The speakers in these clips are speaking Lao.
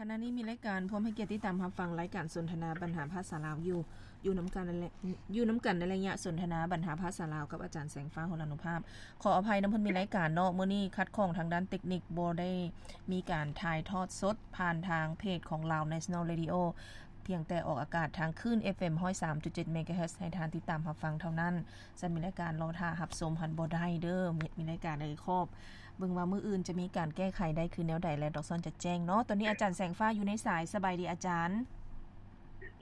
ຂະນະນີ້ມີລາຍການ ພ້ອມໃຫ້ກຽດຕິດຕາມຮັບຟັງລາຍການສົນທະນາບັນຫາພາສາລາວຢູ່ ຢູ່ນຳກັນໃນ ຢູ່ນຳກັນໃນໄລຍະສົນທະນາບັນຫາພາສາລາວກັບອາຈານແສງຟ້າ ຫົລານຸພາບ. ຂໍອະໄພນຳເພິ່ນມີລາຍການເນາະ, ມື້ນີ້ຂັດຂ້ອງທາງດ້ານເຕັກນິກ ບໍ່ໄດ້ມີການຖ່າຍທອດສົດຜ່ານທາງເພຈຂອງ Lao National Radio ພຽງແຕ່ອອກອາກາດທາງຄື້ນ ເອັຟເອັມ ຮ້ອຍສາມຈຸດເຈັດ ເມກາເຮີດ ໃຫ້ທ່ານຕິດຕາມຮັບຟັງເທົ່ານັ້ນ. ຊັ້ນມີລາຍການລໍຖ້າຮັບຊົມຫັ້ນບໍ່ໄດ້ເດີ້ ມີ ມີລາຍການໃນຂອບ ເບິ່ງວ່າມື້ອື່ນຈະມີການແກ້ໄຂໄດ້ຄືແນວໃດ ແລະ ດອກຊອນຈະແຈ້ງເນາະ. ຕອນນີ້ອາຈານແສງຟ້າຢູ່ໃນສາຍ. ສະບາຍດີອາຈານ.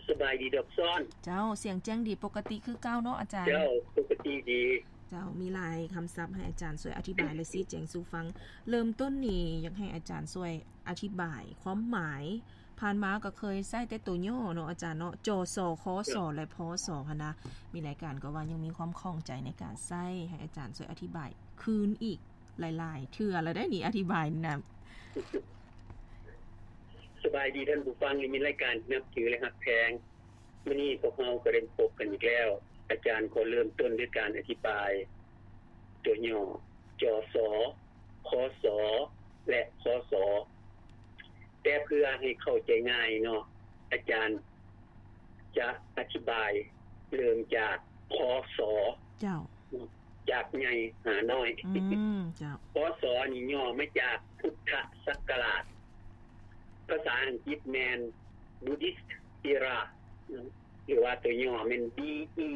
ສະບາຍດີດອກຊອນ. ເຈົ້າ, ສຽງແຈ້ງດີປົກກະຕິຄືເກົ່າເນາະອາຈານ. ເຈົ້າ, ປົກກະຕິດີ. ເຈົ້າ, ມີຫຼາຍຄຳສັບໃຫ້ອາຈານຊ່ວຍອະທິບາຍ ແລະ ຊີ້ແຈງສູ່ຟັງ. ເລີ່ມຕົ້ນນີ້ຢາກໃຫ້ອາຈານຊ່ວຍອະທິບາຍຄວາມໝາຍ. ຜ່ານມາກໍເຄີຍໃຊ້ແຕ່ຕົວຫຍໍ້ເນາະອາຈານເນາະ, ຈສ ຄສ ເຈົ້າ ແລະ ພສ ຫັ້ນນະ. ມີລາຍການກໍວ່າຍັງມີຄວາມຂ້ອງໃຈໃນການໃຊ້, ໃຫ້ອາຈານຊ່ວຍອະທິບາຍຄືນອີກ ຫຼາຍໆເທື່ອແລ້ວເດ້ນີ້ ອະທິບາຍນີ້ນະ. ສະບາຍດີທ່ານຜູ້ຟັງ ທີ່ມີລາຍການທີ່ນັບຖື ແລະ ຮັກແພງ. ມື້ນີ້ພວກເຮົາກໍໄດ້ພົບກັນອີກແລ້ວ. ອາຈານຂໍເລີ່ມຕົ້ນດ້ວຍການອະທິບາຍຕົວຫຍໍ້ ຈສ ຄສ ແລະ ພສ. ແຕ່ເພື່ອໃຫ້ເຂົ້າໃຈງ່າຍເນາະ, ອາຈານຈະອະທິບາຍເລີ່ມຈາກ ພສ. ເຈົ້າ. ຈາກໃຫຍ່ຫານ້ອຍ. ອືມ ເຈົ້າ. ພສ ນີ້ຫຍໍ້ມາຈາກພຸດທະສັກກະລາດ. ພາສາອັງກິດແມ່ນ Buddhist Era ຫຼືວ່າຕົວຫຍໍ້ແມ່ນ ບີອີ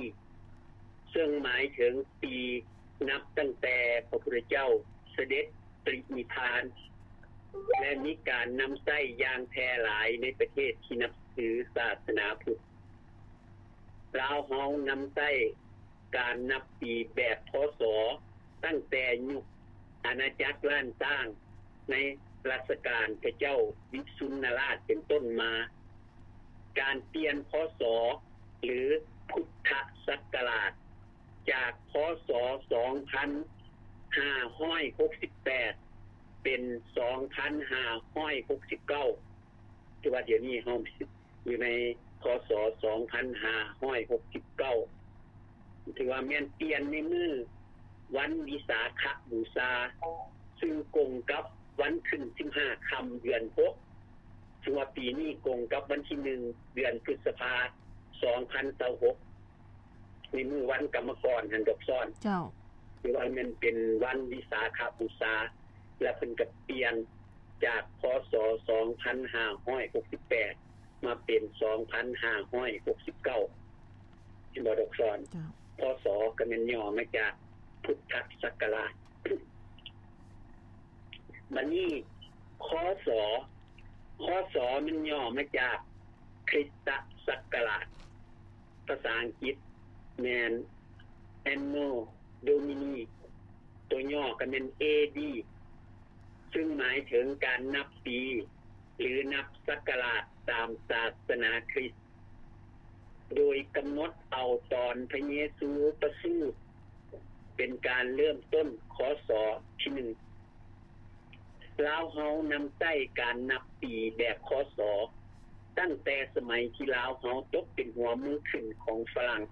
ເຊິ່ງໝາຍເຖິງປີນັບຕັ້ງແຕ່ພະພຸດທະເຈົ້າສະເດັດປະລິນິບພານ ແລະ ມີການນຳໃຊ້ຢ່າງແຜ່ຫຼາຍໃນປະເທດທີ່ນັບຖືສາສະໜາພຸດ. ລາວເຮົານຳໃຊ້ການນັບປີແບບ ພສ ຕັ້ງແຕ່ຍຸກອານາຈັກລ້ານຊ້າງ ໃນລັດຊະການພະເຈົ້າວິສຸນນະລາດເປັນຕົ້ນມາ. ການປ່ຽນ ພສ ຫຼື ພຸດທະສັກກະລາດ ຈາກ ພສ ສອງພັນຫ້າຮ້ອຍຫົກສິບແປດ ເປັນ ສອງພັນຫ້າຮ້ອຍຫົກສິບເກົ້າ ຖືວ່າດຽວນີ້ເຮົາຢູ່ໃນ ພສ ສອງພັນຫ້າຮ້ອຍຫົກສິບເກົ້າ ຖືວ່າແມ່ນປ່ຽນໃນມື້ວັນວິສາຂະບູຊາ ຊຶ່ງກົງກັບວັນຂຶ້ນສິບຫ້າຄ່ຳເດືອນຫົກ ຖືວ່າປີນີ້ກົງກັບວັນທີໜຶ່ງ ເດືອນພຶດສະພາ ສອງພັນຊາວຫົກ ໃນມື້ວັນກຳມະກອນຫັ້ນດອກຊອນ. ເຈົ້າ. ຖືວ່າແມ່ນເປັນວັນວິສາຂະບູຊາ ແລະ ເພິ່ນກໍປ່ຽນຈາກ ພສ ສອງພັນຫ້າຮ້ອຍຫົກສິບແປດ ມາເປັນ ສອງພັນຫ້າຮ້ອຍຫົກສິບເກົ້າ ເຫັນບໍ່ດອກຊອນ? ເຈົ້າ. ພສ ກໍແມ່ນຫຍໍ້ມາຈາກພຸດທະສັກກະລາດ. ບັດນີ້ ຄສ ຄສ ແມ່ນຫຍໍ້ມາຈາກຄຣິສຕະສັກກະລາດ. ພາສາອັງກິດແມ່ນ Anno Domini ຕົວຫຍໍ້ກໍແມ່ນ ເອດີ ຊຶ່ງໝາຍເຖິງການນັບປີ ຫຼື ນັບສັກກະລາດຕາມສາສະໜາຄຣິສ ໂດຍກຳນົດເອົາຕອນພະເຢຊູປະສູດ ເປັນການເລີ່ມຕົ້ນ ຄສ ທີໜຶ່ງ. ລາວເຮົານຳໃຊ້ການນັບປີແບບ ຄສ ຕັ້ງແຕ່ສະໄໝທີ່ລາວເຮົາຕົກເປັນຫົວເມືອງຂຶ້ນຂອງຝຣັ່ງ.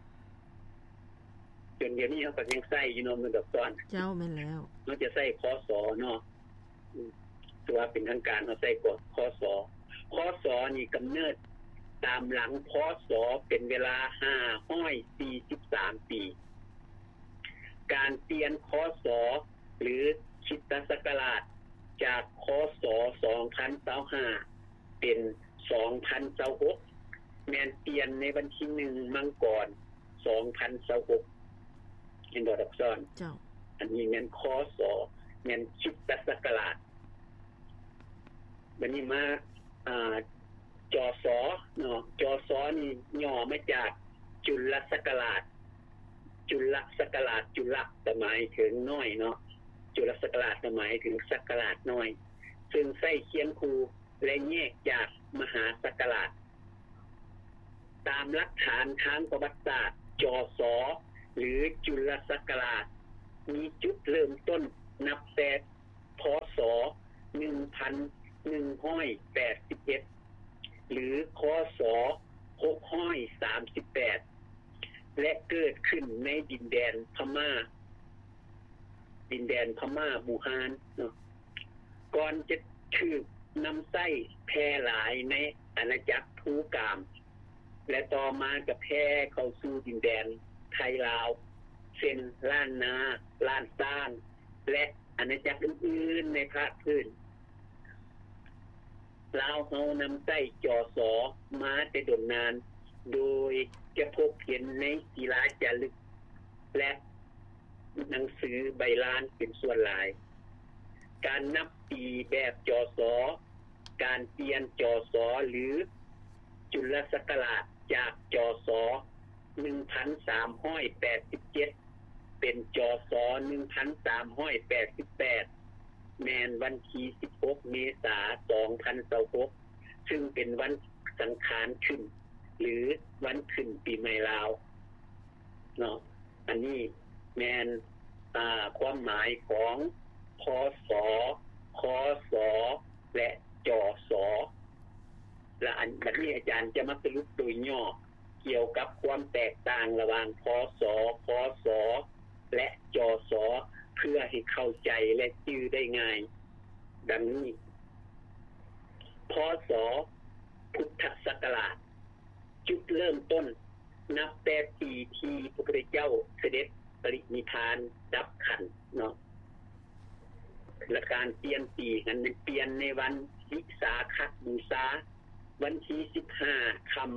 ຈົນດຽວນີ້ເຮົາກໍຍັງໃຊ້ຢູ່ເນາະ ແມ່ນດອກຊອນ. ເຈົ້າ, ແມ່ນແລ້ວ. ເຮົາຈະໃຊ້ ຄສ ເນາະ. ອືມ ຖືວ່າເປັນທາງການເຮົາໃຊ້ກໍ ຄສ. ຄສ ນີ້ກຳເນີດຕາມຫຼັງ ພສ ເປັນເວລາຫ້າຮ້ອຍສີ່ສິບສາມປີ. ການປ່ຽນ ຄສ ຫຼື ຄຣິສຕະສັກກະລາດ ຈາກ ຄສ ສອງພັນຊາວຫ້າ ເປັນ ສອງພັນຊາວຫົກ ແມ່ນປ່ຽນໃນວັນທີໜຶ່ງ ມັງກອນ ສອງພັນຊາວຫົກ ເຫັນບໍ່ດອກຊອນ? ເຈົ້າ. ອັນນີ້ແມ່ນ ຄສ ແມ່ນຄຣິສຕະສັກກະລາດ. ບັດນີ້ມາ ອາ ຈສ ເນາະ, ຈສ ນີ້ຫຍໍ້ມາຈາກຈຸລະສັກກະລາດ. ຈຸລະສັກກະລາດ, ຈຸລະກໍໝາຍເຖິງນ້ອຍເນາະ, ຈຸລະສັກກະລາດກໍໝາຍເຖິງສັກກະລາດນ້ອຍ ເຊິ່ງໃຊ້ຄຽງຄູ່ ແລະ ແຍກຈາກມະຫາສັກກະລາດ. ຕາມຫຼັກຖານທາງປະຫວັດສາດ, ຈສ ຫຼື ຈຸລະສັກກະລາດ ມີຈຸດເລີ່ມຕົ້ນນັບແຕ່ ພສ ໜຶ່ງພັນໜຶ່ງຮ້ອຍແປດສິບເອັດ ຫຼື ຄສ ຫົກຮ້ອຍສາມສິບແປດ ແລະ ເກີດຂຶ້ນໃນດິນແດນພະມ້າ, ດິນແດນພະມ້າບູຮານເນາະ. ກ່ອນຈະຖືກນຳໃຊ້ແຜ່ ຜ່ຫຼາຍໃນອານາຈັກພູກາມ ແລະ ຕໍ່ມາກໍແຜ່ເຂົ້າສູ່ດິນແດນໄທລາວ ເຊັ່ນ ລ້ານນາ, ລ້ານຊ້າງ ແລະ ອານາຈັກອື່ນໆໃນພາກພື້ນ. ລາວເຮົານຳໃຊ້ ຈສ ມາແຕ່ດົນນານ ໂດຍຈະພົບເຫັນໃນສີລາຈາລຶກ ແລະ ໜັງສືໃບລານເປັນສ່ວນຫຼາຍ. ການນັບປີແບບ ຈສ ການປ່ຽນ ຈສ ຫຼື ຈຸລະສັກກະລາດ ຈາກ ຈສ ໜຶ່ງພັນສາມຮ້ອຍແປດສິບເຈັດ ເປັນ ຈສ ໜຶ່ງພັນສາມຮ້ອຍແປດສິບແປດ ແມ່ນວັນທີສິບຫົກ ເມສາ ສອງພັນຊາວຫົກ ຊຶ່ງເປັນວັນສັງຂານຂຶ້ນ ຫຼື ວັນຂຶ້ນປີໃໝ່ລາວເນາະ. ອັນນີ້ແມ່ນ ອາ ຄວາມໝາຍຂອງ ພສ, ຄສ ແລະ ຈສ. ລະອັນ ບັດນີ້ອາຈານຈະມາສະຫຼຸບໂດຍຫຍໍ້ ກ່ຽວກັບຄວາມແຕກຕ່າງລະຫວ່າງ ພສ, ຄສ ແລະ ຈສ ເພື່ອໃຫ້ເຂົ້າໃຈ ແລະ ຈື່ໄດ້ງ່າຍ ດັ່ງນີ້. ພສ ພຸດທະສັກກະລາດ ຈຸດເລີ່ມຕົ້ນນັບແຕ່ປີທີ່ພະພຸດທະເຈົ້າສະເດັດປະລິນິບພານດັບຂັນເນາະ. ແລະ ການປ່ຽນປີຫັ້ນແມ່ນປ່ຽນໃນວັນວິສາຂະບູຊາ ວັນທີສິບຫ້າຄ່ຳ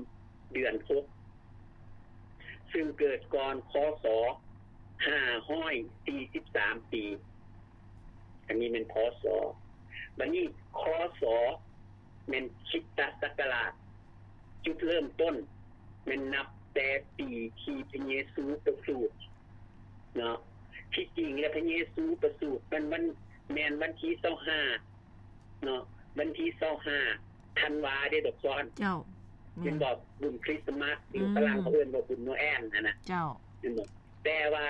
ເດືອນຫົກ ຊຶ່ງເກີດກ່ອນ ຄສ ຫ້າຮ້ອຍສີ່ສິບສາມປີ. ອັນນີ້ແມ່ນ ພສ. ບັດນີ້ ຄສ ແມ່ນຄຣິສຕະສັກກະລາດ. ຈຸດເລີ່ມຕົ້ນແມ່ນນັບແຕ່ປີທີ່ພະເຢຊູປະສູດເນາະ. ທີ່ຈິງແລ້ວພະເຢຊູປະສູດແມ່ນວັນ ແມ່ນວັນທີຊາວຫ້າເນາະ, ວັນທີຊາວຫ້າທັນວາເດ້ ດອກສອນ. ເຈົ້າ. ແມ່ນບໍ່? ບຸນຄຣິສຕະມາດ ຫຼື ອືມ ຝຣັ່ງເຂົາເອີ້ນວ່າບຸນໂນແອນຫັ້ນນະ. ເຈົ້າ. ແມ່ນບໍ່? ແຕ່ວ່າ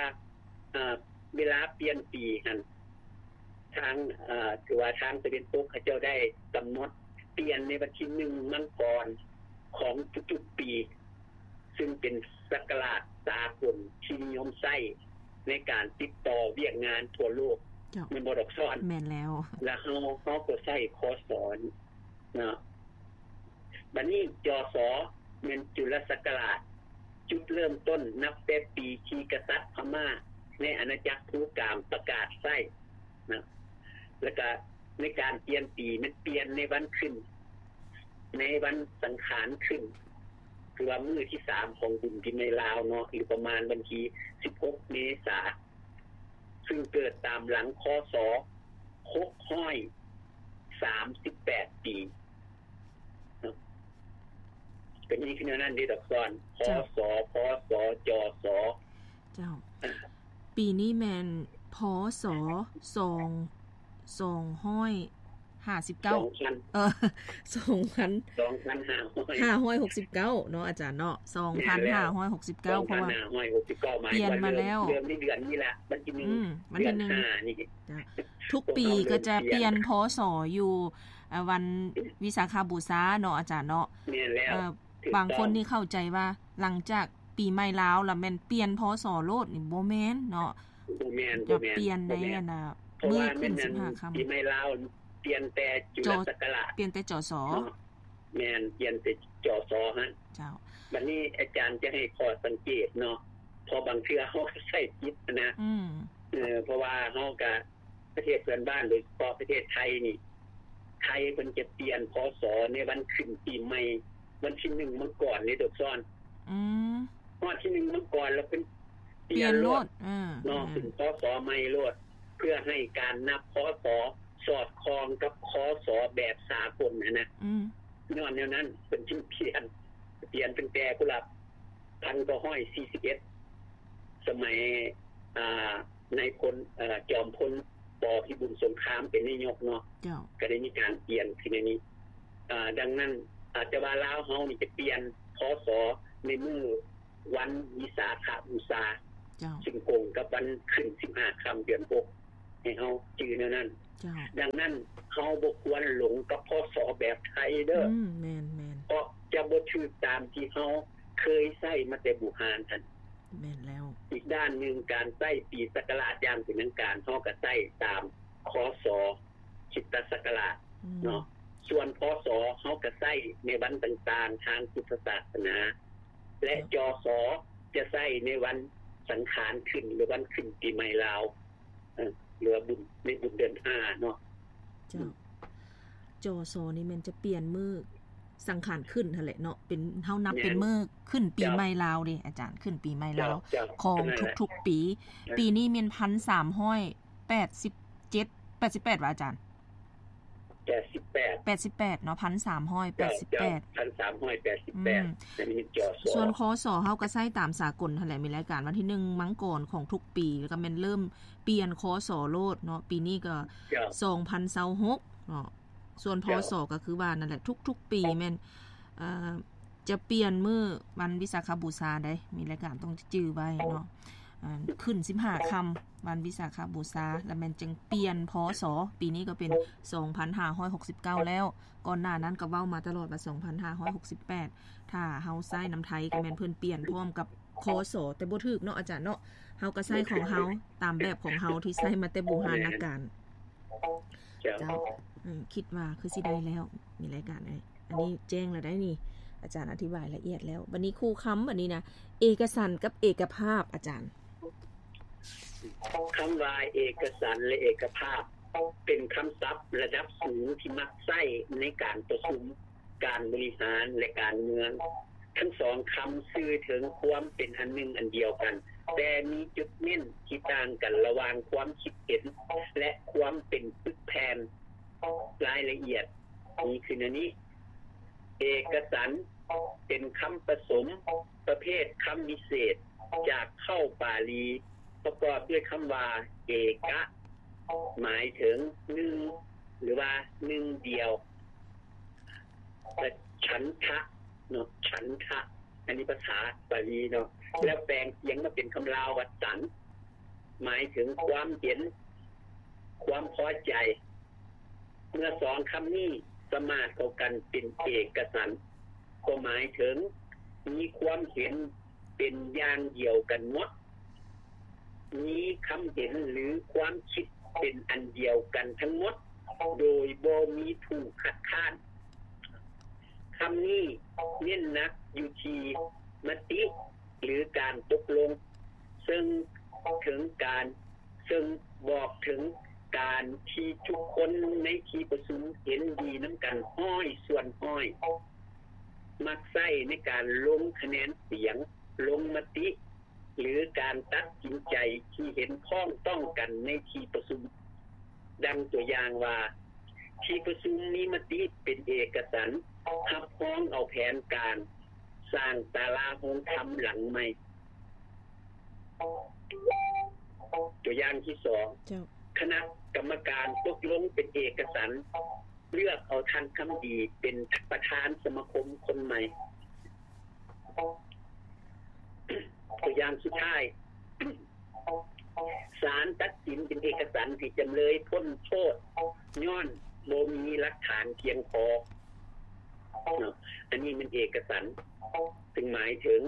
ເອີ ເວລາປ່ຽນປີຫັ້ນ ທາງ ເອີ ຖືວ່າທາງຕາເວັນຕົກເຂົາເຈົ້າໄດ້ກຳນົດປ່ຽນໃນວັນທີໜຶ່ງມັງກອນຂອງທຸກໆປີ ຊຶ່ງເປັນສັກກະລາດສາກົນທີ່ນິຍົມໃຊ້ໃນການຕິດຕໍ່ວຽກງານທົ່ວໂລກ. ເຈົ້າ. ແມ່ນບໍ່ ດອກສອນ? ແມ່ນແລ້ວ. ແລ້ວເຮົາ ເຮົາກໍໃຊ້ ຄສ ນີ້ເນາະ. ບັດນີ້ ຈສ ແມ່ນຈຸລະສັກກະລາດ. ຈຸດເລີ່ມຕົ້ນນັບແຕ່ປີທີ່ກະສັດພະມ້າໃນອານາຈັກພູກາມປະກາດໃຊ້ນະ ແລ້ວກະໃນການປ່ຽນປີແມ່ນປ່ຽນໃນວັນຂຶ້ນ ໃນວັນສັງຂານຂຶ້ນ ຄືວ່າມື້ທີສາມຂອງບຸນປີໃໝ່ລາວເນາະ ຫຼື ປະມານວັນທີສິບຫົກ ເມສາ ຊຶ່ງເກີດຕາມຫຼັງ ຄສ ຫົກຮ້ອຍສາມສິບແປດປີ. ເປັນອີກແນວນັ້ນເດ້ ດອກສອນ. ເຈົ້າ. ພສ, ພສ, ຈສ. ເຈົ້າ. ອ່າ. ປີນີ້ແມ່ນ ພສ ສອງ ສອງຮ້ອຍຫ້າສິບເກົ້າ ສອງພັນ ເອີ ສອງພັນ ສອງພັນຫ້າຮ້ອຍ ຫ້າຮ້ອຍຫົກສິບເກົ້າເນາະ ອາຈານເນາະ ສອງພັນຫ້າຮ້ອຍຫົກສິບເກົ້າ ແມ່ນແລ້ວ ສອງພັນຫ້າຮ້ອຍຫົກສິບເກົ້າ ເນາະ ເພາະວ່າປ່ຽນມາແລ້ວ ເດືອນນີ້ເດືອນນີ້ລະ ວັນທີໜຶ່ງ ອືມ ວັນທີໜຶ່ງ ເດືອນຫ້ານີ້. ເຈົ້າ. ທຸກປີກໍຈະປ່ຽນ ພສ ຢູ່ ອ່າ ວັນວິສາຂະບູຊາເນາະ ອາຈານເນາະ. ແມ່ນແລ້ວ. ເອີ ຖືກຕ້ອງ. ບາງຄົນນີ້ເຂົ້າໃຈວ່າ ຫຼັງຈາກປີໃໝ່ລາວລະແມ່ນປ່ຽນ ພສ ໂລດນີ້ ບໍ່ແມ່ນເນາະ. ບໍ່ແມ່ນ ຈະປ່ຽນໃນ ອັນນ່າ ມື້ຂຶ້ນສິບຫ້າຄ່ຳ ປີໃໝ່ລາວປ່ຽນແຕ່ຈຸລະສັກກະລາດ ປ່ຽນແຕ່ ຈສ ເນາະ. ແມ່ນ ປ່ຽນແຕ່ ຈສ ຫັ້ນ. ເຈົ້າ. ບັດນີ້ອາຈານຈະໃຫ້ຂໍ້ສັງເກດເນາະ ເພາະບາງເທື່ອເຮົາກໍໃຊ້ຜິດນະ. ອືມ. ເອີ ເພາະວ່າເຮົາກໍ ປະເທດເພື່ອນບ້ານ ໂດຍສະເພາະປະເທດໄທນີ້ ໄທເພິ່ນຈະປ່ຽນ ພສ ໃນວັນຂຶ້ນປີໃໝ່ ວັນທີໜຶ່ງມັງກອນເດ້ ດອກສອນ. ອືມ. ຮອດທີໜຶ່ງມັງກອນແລ້ວເພິ່ນປ່ຽນໂລດ ປ່ຽນໂລດ ເນາະ ອືມ ເປັນ ພສ ໃໝ່ໂລດ ເພື່ອໃຫ້ການນັບ ພສ ສອດຄ່ອງກັບ ຄສ ແບບສາກົນຫັ້ນນະ. ອືມ. ຍ້ອນແນວນັ້ນເພິ່ນຈຶ່ງປ່ຽນ ປ່ຽນຕັ້ງແຕ່ພຸ້ນລະ ພັນເກົ້າຮ້ອຍສີ່ສິບເອັດ ສະໄໝ ອ່າ ນາຍພົນ ເອີ ຈອມພົນ ປ ພິບູນສົງຄາມ ເປັນນາຍົກເນາະ. ເຈົ້າ. ກໍໄດ້ມີການປ່ຽນຂຶ້ນໃນນີ້ ເອີ ດັ່ງນັ້ນ ອາດຈະວ່າລາວເຮົານີ້ຈະປ່ຽນ ພສ ໃນມື້ວັນວິສາຂະບູຊາ ເຈົ້າ ຊຶ່ງກົງກັບວັນຂຶ້ນສິບຫ້າຄ່ຳເດືອນຫົກ ໃຫ້ເຮົາຈື່ແນວນັ້ນ. ເຈົ້າ. ດັ່ງນັ້ນ ເຮົາບໍ່ຄວນຫຼົງກັບ ພສ ແບບໄທເດີ. ອືມ ແມ່ນໆ. ເພາະຈະບໍ່ຖືກຕາມທີ່ເຮົາເຄີຍໃຊ້ມາແຕ່ບູຮານຫັ້ນ. ແມ່ນແລ້ວ. ອີກດ້ານໜຶ່ງ ການໃຊ້ປີສັກກະລາດຢ່າງເປັນທາງການ ເຮົາກໍໃຊ້ຕາມ ຄສ ຄຣິສຕະສັກກະລາດ ອືມ ເນາະ. ສ່ວນ ພສ ເຮົາກໍໃຊ້ໃນວັນຕ່າງໆທາງພຸດທະສາສະໜາ ແລະ ຈສ ຈະໃຊ້ໃນວັນສັງຂານຂຶ້ນ ຫຼື ວັນຂຶ້ນປີໃໝ່ລາວ ເອີ ຫຼືວ່າບຸນ ໃນບຸນເດືອນຫ້າເນາະ. ເຈົ້າ ຈສ ນີ້ແມ່ນຈະປ່ຽນມື້ສັງຂານຂຶ້ນຫັ້ນແຫຼະເນາະ ເປັນ ເຮົານັບເປັນມື້ຂຶ້ນປີໃໝ່ລາວເດ້ອາຈານ ຂຶ້ນປີໃໝ່ລາວຂອງທຸກໆປີ. ປີນີ້ແມ່ນພັນສາມຮ້ອຍແປດສິບເຈັດ ແປດສິບແປດຫວາອາຈານ? ແປດສິບແປດ ແປດສິບແປດເນາະ ພັນສາມຮ້ອຍແປດສິບແປດ ພັນສາມຮ້ອຍແປດສິບແປດ. ສ່ວນ ຄສ ເຮົາກໍໃຊ້ຕາມສາກົນຫັ້ນແຫຼະ ມີລາຍການວັນທີໜຶ່ງມັງກອນຂອງທຸກປີ ແລ້ວກໍແມ່ນເລີ່ມປ່ຽນ ຄສ ໂລດເນາະ ປີນີ້ກໍສອງພັນຊາວຫົກເນາະ. ສ່ວນ ພສ ກໍຄືວ່ານັ້ນແຫຼະ ທຸກໆປີແມ່ນ ເອີ ຈະປ່ຽນມື້ວັນວິສາຂະບູຊາໄດ໋ ມີລາຍການຕ້ອງຈື່ໄວ້ເນາະ ເອີ ຂຶ້ນສິບຫ້າຄ່ຳວັນວິສາຂະບູຊາ ແລ້ວແມ່ນຈຶ່ງປ່ຽນ ພສ ປີນີ້ກໍເປັນສອງພັນຫ້າຮ້ອຍຫົກສິບເກົ້າແລ້ວ ກ່ອນໜ້ານັ້ນກໍເວົ້າມາຕະຫຼອດວ່າສອງພັນຫ້າຮ້ອຍຫົກສິບແປດ ຖ້າເຮົາໃຊ້ນຳໄທກໍແມ່ນເພິ່ນປ່ຽນພ້ອມກັບ ຄສ ແຕ່ບໍ່ຖືກເນາະອາຈານເນາະ ເຮົາກໍໃຊ້ຂອງເຮົາຕາມແບບຂອງເຮົາທີ່ໃຊ້ມາແຕ່ບູຮານນະການ. ເຈົ້າ ເຈົ້າ ເອີ ຄິດວ່າຄືຊິໄດ້ແລ້ວ ມີລາຍການເອີຍ ອັນນີ້ແຈ້ງແລ້ວໄດ໋ນີ້ ອາຈານອະທິບາຍລະອຽດແລ້ວ. ບັດນີ້ຄູ່ຄຳ ບັດນີ້ນະ ເອກະສັນກັບເອກະພາບ ອາຈານ. ຄຳວ່າເອກະສັນ ແລະ ເອກະພາບ ເປັນຄຳສັບລະດັບສູງທີ່ມັກໃຊ້ໃນການປະຊຸມ ການບໍລິຫານ ແລະ ການເມືອງ. ທັງສອງຄຳສື່ເຖິງຄວາມເປັນອັນໜຶ່ງອັນດຽວກັນ, ແຕ່ມີຈຸດເນັ້ນທີ່ຕ່າງກັນລະຫວ່າງຄວາມຄິດເຫັນ ແລະ ຄວາມເປັນປຶກແຜ່ນ. ລາຍລະອຽດມີຄືແນວນີ້. ເອກະສັນ ເປັນຄຳປະສົມປະເພດຄຳວິເສດຈາກເຄົ້າປາລີ ປະກອບດ້ວຍຄຳວ່າ ເອກະ ໝາຍເຖິງໜຶ່ງ ຫຼືວ່າໜຶ່ງດຽວ ແລະ ສັນທະເນາະ ສັນທະ ອັນນີ້ພາສາປາລີເນາະ ແລ້ວແປງສຽງມາເປັນຄຳລາວວ່າ ສັນ ໝາຍເຖິງຄວາມເຫັນ ຄວາມພໍໃຈ. ເມື່ອສອງຄຳນີ້ສະມາດເຂົ້າກັນເປັນເອກະສັນ ກໍໝາຍເຖິງມີຄວາມເຫັນເປັນຢ່າງດຽວກັນໝົດ, ມີຄຳເຫັນ ຫຼື ຄວາມຄິດເປັນອັນດຽວກັນທັງໝົດ ໂດຍບໍ່ມີຜູ້ຄັດຄ້ານ. ຄຳນີ້ເນັ້ນໜັກຢູ່ທີ່ມະຕິ ຫຼື ການຕົກລົງ ເຊິ່ງເຖິງການ ເຊິ່ງບອກເຖິງການທີ່ທຸກຄົນໃນທີ່ປະຊຸມເຫັນດີນຳກັນຮ້ອຍສ່ວນຮ້ອຍ ມັກໃຊ້ໃນການລົງຄະແນນສຽງ, ລົງມະຕິ ຫຼື ການຕັດສິນໃຈທີ່ເຫັນພ້ອງຕ້ອງກັນໃນທີ່ປະຊຸມ. ດັ່ງຕົວຢ່າງວ່າ ທີ່ປະຊຸມມີມະຕິເປັນເອກະສັນ ຮັບຮອງເອົາແຜນການສ້າງສາລາໂຮງທຳຫຼັງໃໝ່. ຕົວຢ່າງທີສອງ ເຈົ້າ ຄະນະກຳມະການຕົກລົງເປັນເອກະສັນ ເລືອກເອົາທ່ານຄຳດີເປັນປະທານສະມາຄົມຄົນໃໝ່. ຕົວຢ່າງສຸດທ້າຍ ສານຕັດສິນເປັນເອກະສັນໃຫ້ຈຳເລີຍພົ້ນໂທດ ຍ້ອນບໍ່ມີຫຼັກຖານພຽງພໍເນາະ. ອັນນີ້ແມ່ນເອກະສັນ ເຊິ່ງໝາຍເຖິງ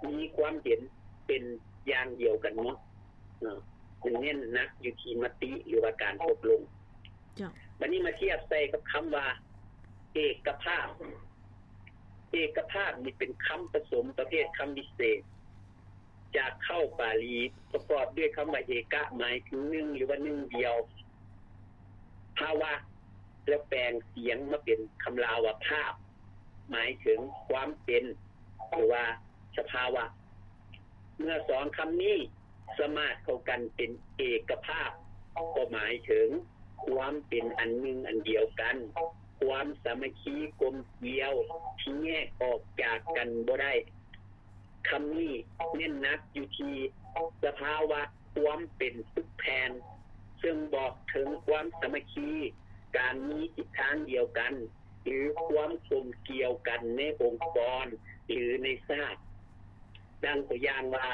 ມີຄວາມເຫັນເປັນຢ່າງດຽວກັນໝົດເນາະ. ມັນເນັ້ນໜັກຢູ່ທີ່ມະຕິ ຫຼືວ່າການຕົກລົງ. ເຈົ້າ. ບັດນີ້ມາທຽບໃສ່ກັບຄຳວ່າ ເອກະພາບ. ເອກະພາບນີ້ເປັນຄຳປະສົມປະເພດຄຳວິເສດ ຈາກເຄົ້າປາລີ ປະກອບດ້ວຍຄຳວ່າ ເອກະ ໝາຍເຖິງໜຶ່ງ ຫຼືວ່າໜຶ່ງດຽວ, ພາວະ ແລ້ວແປງສຽງມາເປັນຄຳລາວວ່າ ພາບ ໝາຍເຖິງຄວາມເປັນ ຫຼືວ່າສະພາວະ. ເມື່ອສອງຄຳນີ້ສະມາດເຂົ້າກັນເປັນເອກະພາບ ກໍໝາຍເຖິງຄວາມເປັນອັນໜຶ່ງອັນດຽວກັນ, ຄວາມສາມັກຄີກົມກຽວທີ່ແຍກອອກຈາກກັນບໍ່ໄດ້. ຄຳນີ້ເນັ້ນໜັກຢູ່ທີ່ສະພາວະຄວາມເປັນປຶກແຜ່ນ ເຊິ່ງບອກເຖິງຄວາມສາມັກຄີ, ການມີທິດທາງດຽວກັນ ຫຼື ຄວາມກົມກຽວກັນໃນອົງກອນ ຫຼື ໃນຊາດ. ດັ່ງຕົວຢ່າງວ່າ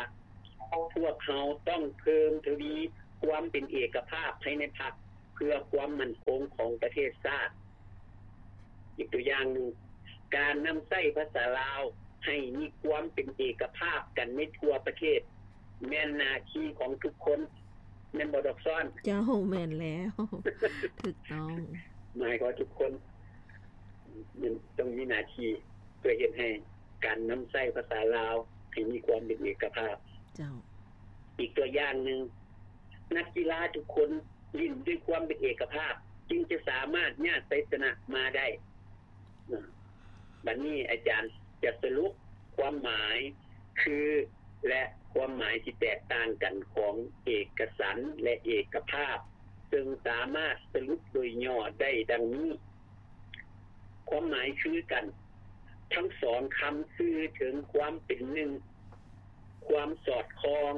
ພວກເຮົາຕ້ອງເພີ່ມທະວີຄວາມເປັນເອກະພາບພາຍໃນພັກ ເພື່ອຄວາມໝັ້ນຄົງຂອງປະເທດຊາດ. ອີກຕົວຢ່າງໜຶ່ງ, ການນຳໃຊ້ພາສາລາວໃຫ້ມີຄວາມເປັນເອກະພາບກັນໃນທົ່ວປະເທດ ແມ່ນໜ້າທີ່ຂອງທຸກຄົນ. ແມ່ນບໍ່ ດອກຊອນ? ເຈົ້າ, ແມ່ນແລ້ວ. ຖືກຕ້ອງ. ໝາຍຄວາມວ່າທຸກຄົນ ມັນຕ້ອງມີໜ້າທີ່ເພື່ອເຮັດໃຫ້ການນຳໃຊ້ພາສາລາວໃຫ້ມີຄວາມເປັນເອກະພາບ. ເຈົ້າ. ອີກຕົວຢ່າງໜຶ່ງ, ນັກກິລາທຸກຄົນຫຼິ້ນດ້ວຍຄວາມເປັນເອກະພາບ ຈຶ່ງຈະສາມາດຍາດໄຊຊະນະມາໄດ້. ບັດນີ້ອາຈານຈະສະຫຼຸບຄວາມໝາຍຄື ແລະ ຄວາມໝາຍທີ່ແຕກຕ່າງກັນຂອງເອກະສັນ ແລະ ເອກະພາບ, ເຊິ່ງສາມາດສະຫຼຸບໂດຍຫຍໍ້ໄດ້ດັ່ງນີ້. ຄວາມໝາຍຄືກັນ, ທັງສອງຄຳສື່ເຖິງຄວາມເປັນໜຶ່ງ, ຄວາມສອດຄ່ອງ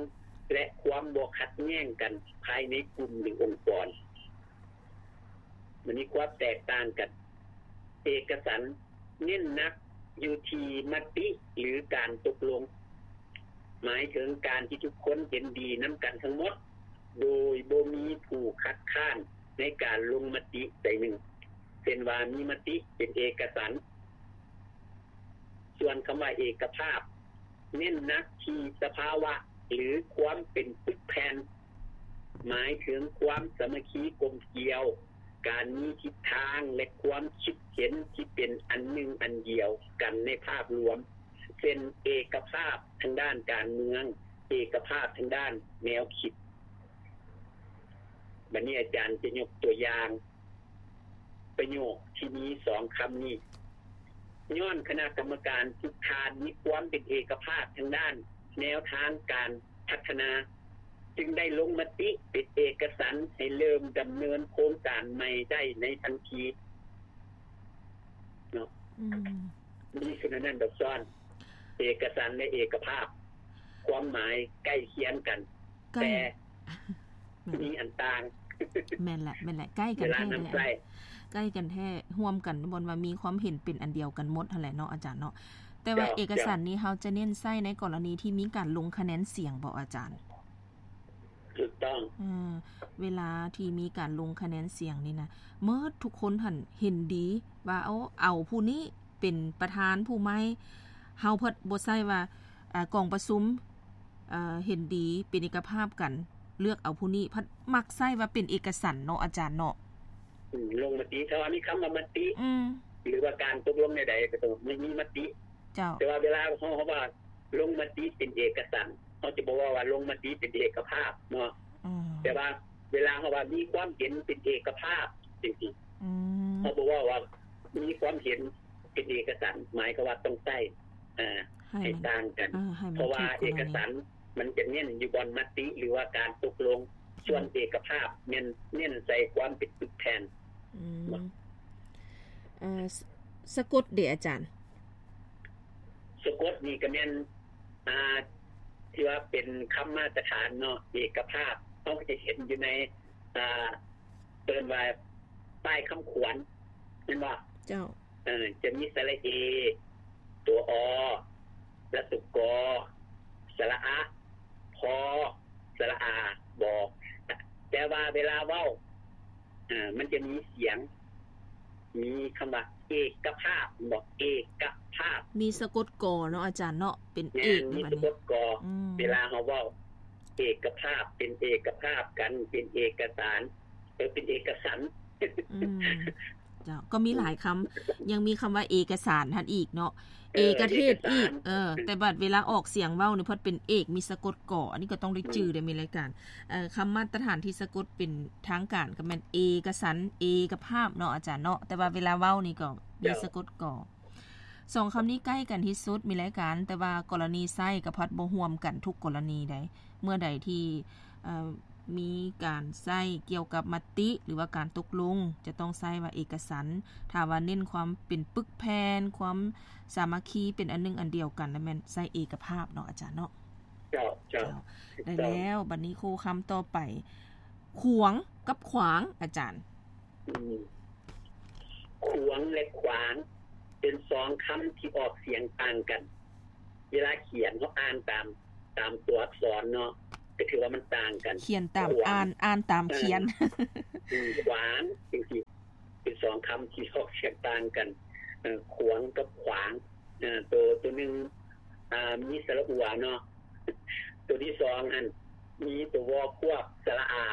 ແລະ ຄວາມບໍ່ຂັດແຍ້ງກັນພາຍໃນກຸ່ມ ຫຼື ອົງກອນ. ມັນມີຄວາມແຕກຕ່າງກັນ. ເອກະສັນເນັ້ນໜັກຢູ່ທີ່ມະຕິ ຫຼື ການຕົກລົງ, ໝາຍເຖິງການທີ່ທຸກຄົນເຫັນດີນຳກັນທັງໝົດ ໂດຍບໍ່ມີຜູ້ຄັດຄ້ານໃນການລົງມະຕິໃດໜຶ່ງ, ເຊັ່ນວ່າມີມະຕິເປັນເອກະສັນ. ສ່ວນຄຳວ່າເອກະພາບ ເນັ້ນໜັກທີ່ສະພາວະ ຫຼື ຄວາມເປັນປຶກແຜ່ນ, ໝາຍເຖິງຄວາມສາມັກຄີກົມກຽວ, ການມີທິດທາງ ແລະ ຄວາມຄິດເຫັນທີ່ເປັນອັນໜຶ່ງອັນດຽວກັນໃນພາບລວມ, ເຊັ່ນ ເອກະພາບທາງດ້ານການເມືອງ, ເອກະພາບທາງດ້ານແນວຄິດ. ບັດນີ້ອາຈານຈະຍົກຕົວຢ່າງ ປະໂຫຍກທີ່ມີສອງຄຳນີ້, ຍ້ອນຄະນະກຳມະການຝຶກຂາດມີຄວາມເປັນເອກະພາບທາງດ້ານແນວທາງການພັດທະນາ, ຈຶ່ງໄດ້ລົງມະຕິເປັນເອກະສັນໃຫ້ເລີ່ມດຳເນີນໂຄງການໃໝ່ໄດ້ໃນທັນທີເນາະ. ອືມ ມີສ່ວນນັ້ນດອກຊ້ອນ ເອກະສັນ ແລະ ເອກະພາບ ຄວາມໝາຍໃກ້ຄຽງກັນ ໃກ້ ແຕ່ ແມ່ນ ມີອັນຕ່າງ. ແມ່ນແຫຼະ ແມ່ນແຫຼະ ໃກ້ກັນແທ້ເດ ໃກ້ກັນແທ້ ຮ່ວມກັນ ບ່ອນວ່າມີຄວາມເຫັນເປັນອັນດຽວກັນໝົດຫັ້ນແຫຼະເນາະ ອາຈານເນາະ. ແຕ່ວ່າ ເຈົ້າ ເອກະສັນນີ້ ເຈົ້າ ເຮົາຈະເນັ້ນໃຊ້ໃນກໍລະນີທີ່ມີການລົງຄະແນນສຽງບໍ ອາຈານ? ຖືກຕ້ອງ. ເອີ ເວລາທີ່ມີການລົງຄະແນນສຽງນີ້ນະ ໝົດທຸກຄົນຫັ້ນເຫັນດີວ່າ ເອົາ ເອົາຜູ້ນີ້ ເປັນປະທານຜູ້ໃໝ່, ເຮົາພັດບໍ່ໃຊ້ວ່າ ອາ ກອງປະຊຸມ ເອີ ເຫັນດີເປັນເອກະພາບກັນ ເລືອກເອົາຜູ້ນີ້, ພັດມັກໃຊ້ວ່າເປັນເອກະສັນເນາະ ອາຈານເນາະ. ອືມ ລົງມະຕິ ຖ້າວ່າມີຄຳວ່າມະຕິ ອືມ ຫຼືວ່າການຕົກລົງແນວໃດ ກໍຕ້ອງມີ ມີມະຕິ. ເຈົ້າ. ແຕ່ວ່າເວລາເຮົາ ເຮົາວ່າລົງມະຕິເປັນເອກະສັນ ເຮົາຈະບໍ່ເວົ້າວ່າລົງມະຕິເປັນເອກະພາບເນາະ. ອືມ ແຕ່ວ່າເວລາເຮົາວ່າມີຄວາມເຫັນເປັນເອກະພາບຈັ່ງຊີ້ ອືມ ເຮົາບໍ່ເວົ້າວ່າມີຄວາມເຫັນ ເປັນເອກະສັນ ໝາຍຄວາມວ່າຕ້ອງໃຊ້ ເອີ ໃຫ້ ໃຫ້ມັນຕ່າງກັນ ເອີ ໃຫ້ມັນ ເພາະວ່າເອກະສັນມັນຈະເນັ້ນຢູ່ບ່ອນມະຕິ ຫຼືວ່າການຕົກລົງ, ສ່ວນເອກະພາບແມ່ນເນັ້ນໃສ່ຄວາມເປັນປຶກແຜ່ນ. ອືມ ເອີ ສະ ສະກົດເດ ອາຈານ? ສະກົດນີ້ກໍແມ່ນ ອ່າ ທີ່ວ່າເປັນຄຳມາດຕະຖານເນາະ ເອກະພາບ ເຮົາກໍຈະເຫັນຢູ່ໃນ ອ່າ ເອີ້ນວ່າປ້າຍຄຳຂວັນ ແມ່ນບໍ່? ເຈົ້າ. ເອີ ຈະມີສະຫຼະເອ ຕົວ ອ ລະຕົວ ກ ສະຫຼະອະ ພໍ ສະຫຼະອາ ບ. ແຕ່ວ່າເວລາເວົ້າ ເອີ ມັນຈະມີສຽງ ມີຄຳວ່າເອກະພາບ ແມ່ນບໍ່? ເອກະພາບ ມີສະກົດ ກ ເນາະ ອາຈານເນາະ ເປັນເອກ ມີສະກົດ ກ. ອືມ ເວລາເຮົາເວົ້າເອກະພາບ ເປັນເອກະພາບກັນ ເປັນເອກະສານ ເອີ ເປັນເອກະສັນ. ອືມ ເຈົ້າ ກໍມີຫຼາຍຄຳ ຍັງມີຄຳວ່າເອກະສານຫັ້ນອີກເນາະ ເອີ ເອກະເທດອີກ ເອກະສານ ເອີ ແຕ່ບັດເວລາອອກສຽງເວົ້ານີ້ ພັດເປັນເອກ ມີສະກົດ ກ. ອັນນີ້ກໍຕ້ອງໄດ້ຈື່ເດ້ ມີລາຍການ ເອີ ຄຳມາດຕະຖານທີ່ສະກົດເປັນທາງການກໍແມ່ນເອກະສັນ ເອກະພາບເນາະ ອາຈານເນາະ ແຕ່ວ່າເວລາເວົ້ານີ້ກໍມີສະກົດ ກ. ສອງຄຳນີ້ໃກ້ກັນທີ່ສຸດ ມີລາຍການ ແຕ່ວ່າກໍລະນີໃຊ້ກໍພັດບໍ່ຮ່ວມກັນທຸກກໍລະນີໃດ. ເມື່ອໃດທີ່ ເອີ ມີການໃຊ້ກ່ຽວກັບມະຕິ ຫຼືວ່າການຕົກລົງ ຈະຕ້ອງໃຊ້ວ່າເອກະສັນ, ຖ້າວ່າເນັ້ນຄວາມເປັນປຶກແຜ່ນ ຄວາມສາມັກຄີເປັນອັນໜຶ່ງອັນດຽວກັນ ລະແມ່ນໃຊ້ເອກະພາບເນາະ ອາຈານເນາະ. ເຈົ້າ ເຈົ້າ ເຈົ້າ ໄດ້ແລ້ວ. ບັດນີ້ຄູ່ຄຳຕໍ່ໄປ ຂວງກັບຂວາງ ອາຈານ. ອືມ ຂວງ ແລະ ຂວາງ ເປັນສອງຄຳທີ່ອອກສຽງຕ່າງກັນ. ເວລາຂຽນເຮົາອ່ານຕາມ ຕາມຕົວອັກສອນເນາະ ກໍຖືວ່າມັນຕ່າງກັນ. ຂຽນຕາມ ຂວາງ ອ່ານ ອ່ານຕາມຂຽນ. ເອີ ຂວາງ ຈັ່ງຊີ້ ເປັນສອງຄຳທີ່ອອກສຽງຕ່າງກັນ. ເອີ ຂວງກັບຂວາງ. ເອີ ໂຕ ໂຕໜຶ່ງ ອ່າ ມີສະຫຼະອວເນາະ ໂຕທີສອງຫັ້ນ ມີໂຕ ວ ຄວບ ສະຫຼະອາ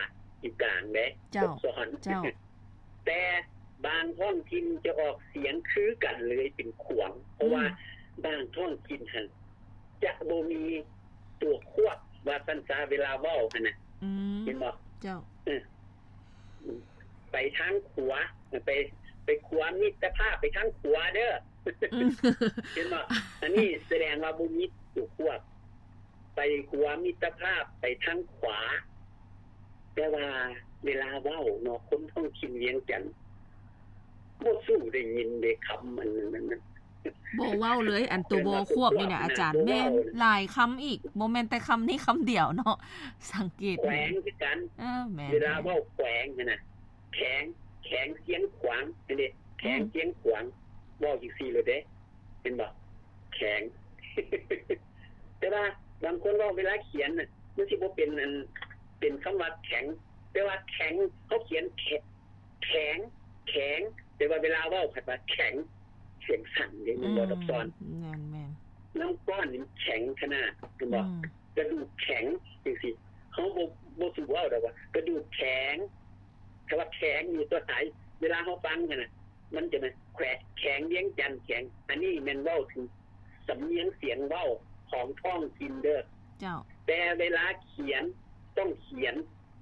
ຢູ່ກາງເດ້. ເຈົ້າ ຕົວອັກສອນ. ເຈົ້າ. ແຕ່ບາງທ້ອງຖິ່ນຈະອອກສຽງ ຄືກັນເລີຍ ເປັນຂວາງ ເພາະວ່າ ອືມ ບາງທ້ອງຖິ່ນຫັ້ນຈະບໍ່ມີຕົວຄວບ ວ່າຊັ້ນຊະ ເວລາເວົ້າຫັ້ນນະ ອືມ ເຫັນບໍ່? ເຈົ້າ ເອີ ໄປທາງຂວາ ໄປ ໄປຂົວມິດຕະພາບ ໄປທາງຂວາເດີ ອືມ ເຫັນບໍ່? ອັນນີ້ສະແດງວ່າບໍ່ມີຕົວຄວບ ໄປຂົວມິດຕະພາບ ໄປທາງຂວາ ແຕ່ວ່າເວລາເວົ້າເນາະ ຄົນທ້ອງຖິ່ນວຽງຈັນ ບໍ່ສູ້ໄດ້ຍິນເດ້ ຄຳອັນນັ້ນ ບໍ່ເວົ້າເລີຍ ອັນໂຕບໍ່ຄວບນີ້ນະອາຈານ ແມ່ນຫຼາຍຄຳອີກ ບໍ່ແມ່ນແຕ່ຄຳນີ້ຄຳດຽວເນາະ ສັງເກດ ແຂວງຄືກັນ ເອີ ແມ່ນ ເວລາເວົ້າແຂວງຫັ້ນນະ ແຂງ ແຂງຊຽງຂວາງ ເຫັນເດ້ ແຂງ ອືມ ຊຽງຂວາງ ເວົ້າຈັ່ງຊີ້ໂລດເດ້ ເຫັນບໍ່? ແຂງ ແຕ່ວ່າບາງຄົນເວົ້າເວລາຂຽນນະ ມັນຊິບໍ່ເປັນອັນ ເປັນຄຳວ່າແຂງ ແຕ່ວ່າແຂງ ເຮົາຂຽນແຂ ແຂງ ແຂງ ແຕ່ວ່າເວລາເວົ້າພັດວ່າແຂງ ສຽງສັ້ນເດ້ ແມ່ນບໍ່ ອືມ ທັບຊ້ອນ ແມ່ນໆ ນ້ຳກ້ອນນີ້ແຂງຂະໜາດ ເຫັນບໍ່? ອືມ ກະດູກແຂງຈັ່ງຊີ້ ເຮົາບໍ່ ບໍ່ສູ່ເວົ້າດອກວ່າກະດູກແຂງ ຖ້າວ່າແຂງນີ້ຕົວທ້າຍ ເວລາເຮົາຟັງຫັ້ນນະ ມັນຈະແມ່ນແຂວ ແຂງວຽງຈັນ ແຂງ ອັນນີ້ແມ່ນເວົ້າເຖິງສຳນຽງສຽງເວົ້າຂອງທ້ອງຖິ່ນເດີ ເຈົ້າ ແຕ່ເວລາຂຽນຕ້ອງຂຽນ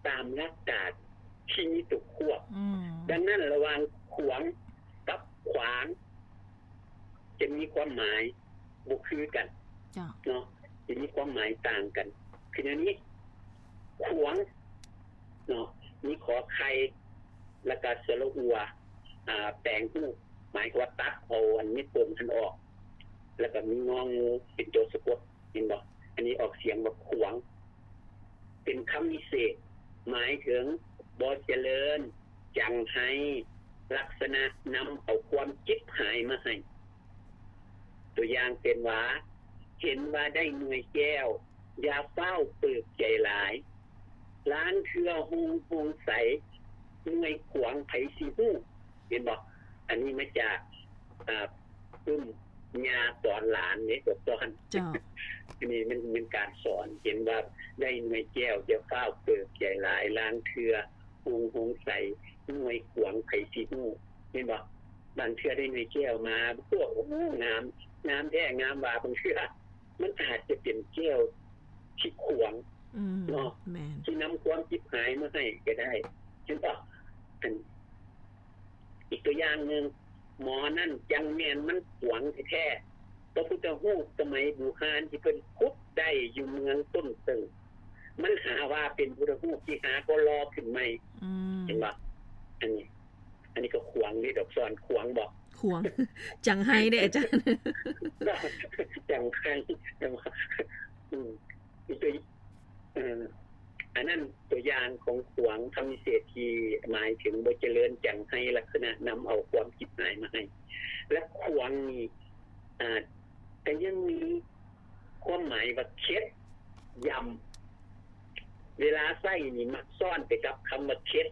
ຕາມຫຼັກການທີ່ມີຕົວຄວບ ອືມ ດັ່ງນັ້ນລະຫວ່າງຂວາງກັບຂວາງ ຈະມີຄວາມໝາຍບໍ່ຄືກັນ ເຈົ້າ ເນາະ ຈະມີຄວາມໝາຍຕ່າງກັນ ຄືແນວນີ້ ຂວາງ ເນາະ ມີຂໍໄຂ່ ແລ້ວກະສະຫຼະອົວ ອ່າ ແປງຮູບ ໝາຍຄວາມວ່າຕັດເອົາອັນມີປົມຫັ້ນອອກ ແລ້ວກະມີງໍງູເປັນໂຕສະກົດ ເຫັນບໍ່? ອັນນີ້ອອກສຽງວ່າຂວາງ ເປັນຄຳວິເສດ ໝາຍເຖິງບໍ່ຈະເລີນ ຈັງໄຮ ລັກສະນະນຳເອົາຄວາມຈິບຫາຍມາໃຫ້. ຕົວຢ່າງເຊັ່ນວ່າ ເຫັນວ່າໄດ້ໜ່ວຍແກ້ວ ຢ່າຟ້າວເປີກໃຈຫຼາຍ ລາງເທື່ອໂຮງ ໂຮງໃສ ໜ່ວຍຂວາງໃຜຊິຮູ້ ເຫັນບໍ່? ອັນນີ້ມາຈາກ ອ່າ ປຶ້ມຍ່າສອນຫຼານເດ້ ເຈົ້າ ເຈົ້າ ອັນນີ້ແມ່ນ ແມ່ນການສອນ ເຫັນວ່າໄດ້ໜ່ວຍແກ້ວ ຢ່າຟ້າວເປີກໃຈຫຼາຍ ລາງເທື່ອໂຮງ ໂຮງໃສ ໜ່ວຍຂວາງໃຜຊິຮູ້ ເຫັນບໍ່? ບາງເທື່ອໄດ້ໜ່ວຍແກ້ວມາ ໂອ້ ງາມ ງາມແທ້ງາມວ່າ ບາງເທື່ອ ມັນອາດຈະເປັນແກ້ວທີ່ຂວາງ ອືມ ເນາະ ແມ່ນ ທີ່ນຳຄວາມຈິບຫາຍມາໃຫ້ກໍໄດ້ ເຫັນບໍ່? ອັນ ອີກຕົວຢ່າງໜຶ່ງ ໝໍນັ້ນຈັ່ງແມ່ນມັນຂວາງແທ້ໆ ພະພຸດທະຮູບສະໄໝບູຮານທີ່ເພິ່ນຂຸດໄດ້ຢູ່ເມືອງຕົ້ນເຕີງ ມັນຫາວ່າເປັນພຸດທະຮູບທີ່ຫາກໍຫຼໍ່ຂຶ້ນໃໝ່ ອືມ ເຫັນບໍ່? ອັນນີ້ ອັນນີ້ກໍຂວາງເດ້ ດອກສອນ ຂວາງບໍ່? ຂວາງ ຈັງໄຮເດ້ອາຈານ ຈັງໄຮ ອືມ ອີກຕົວ ເອີ ອັນນັ້ນຕົວຢ່າງຂອງຂວາງ ຄຳວິເສດທີ່ໝາຍເຖິງບໍ່ຈະເລີນ ຈັງໄຮ ລັກສະນະນຳເອົາຄວາມຈິບຫາຍມາໃຫ້ ແລະ ຂວາງນີ້ ອາດຈະຍັງມີຄວາມໝາຍວ່າເຂັດ ຢຳ ເວລາໃຊ້ນີ້ມັກຊ້ອນໄປກັບຄຳວ່າເຂັດ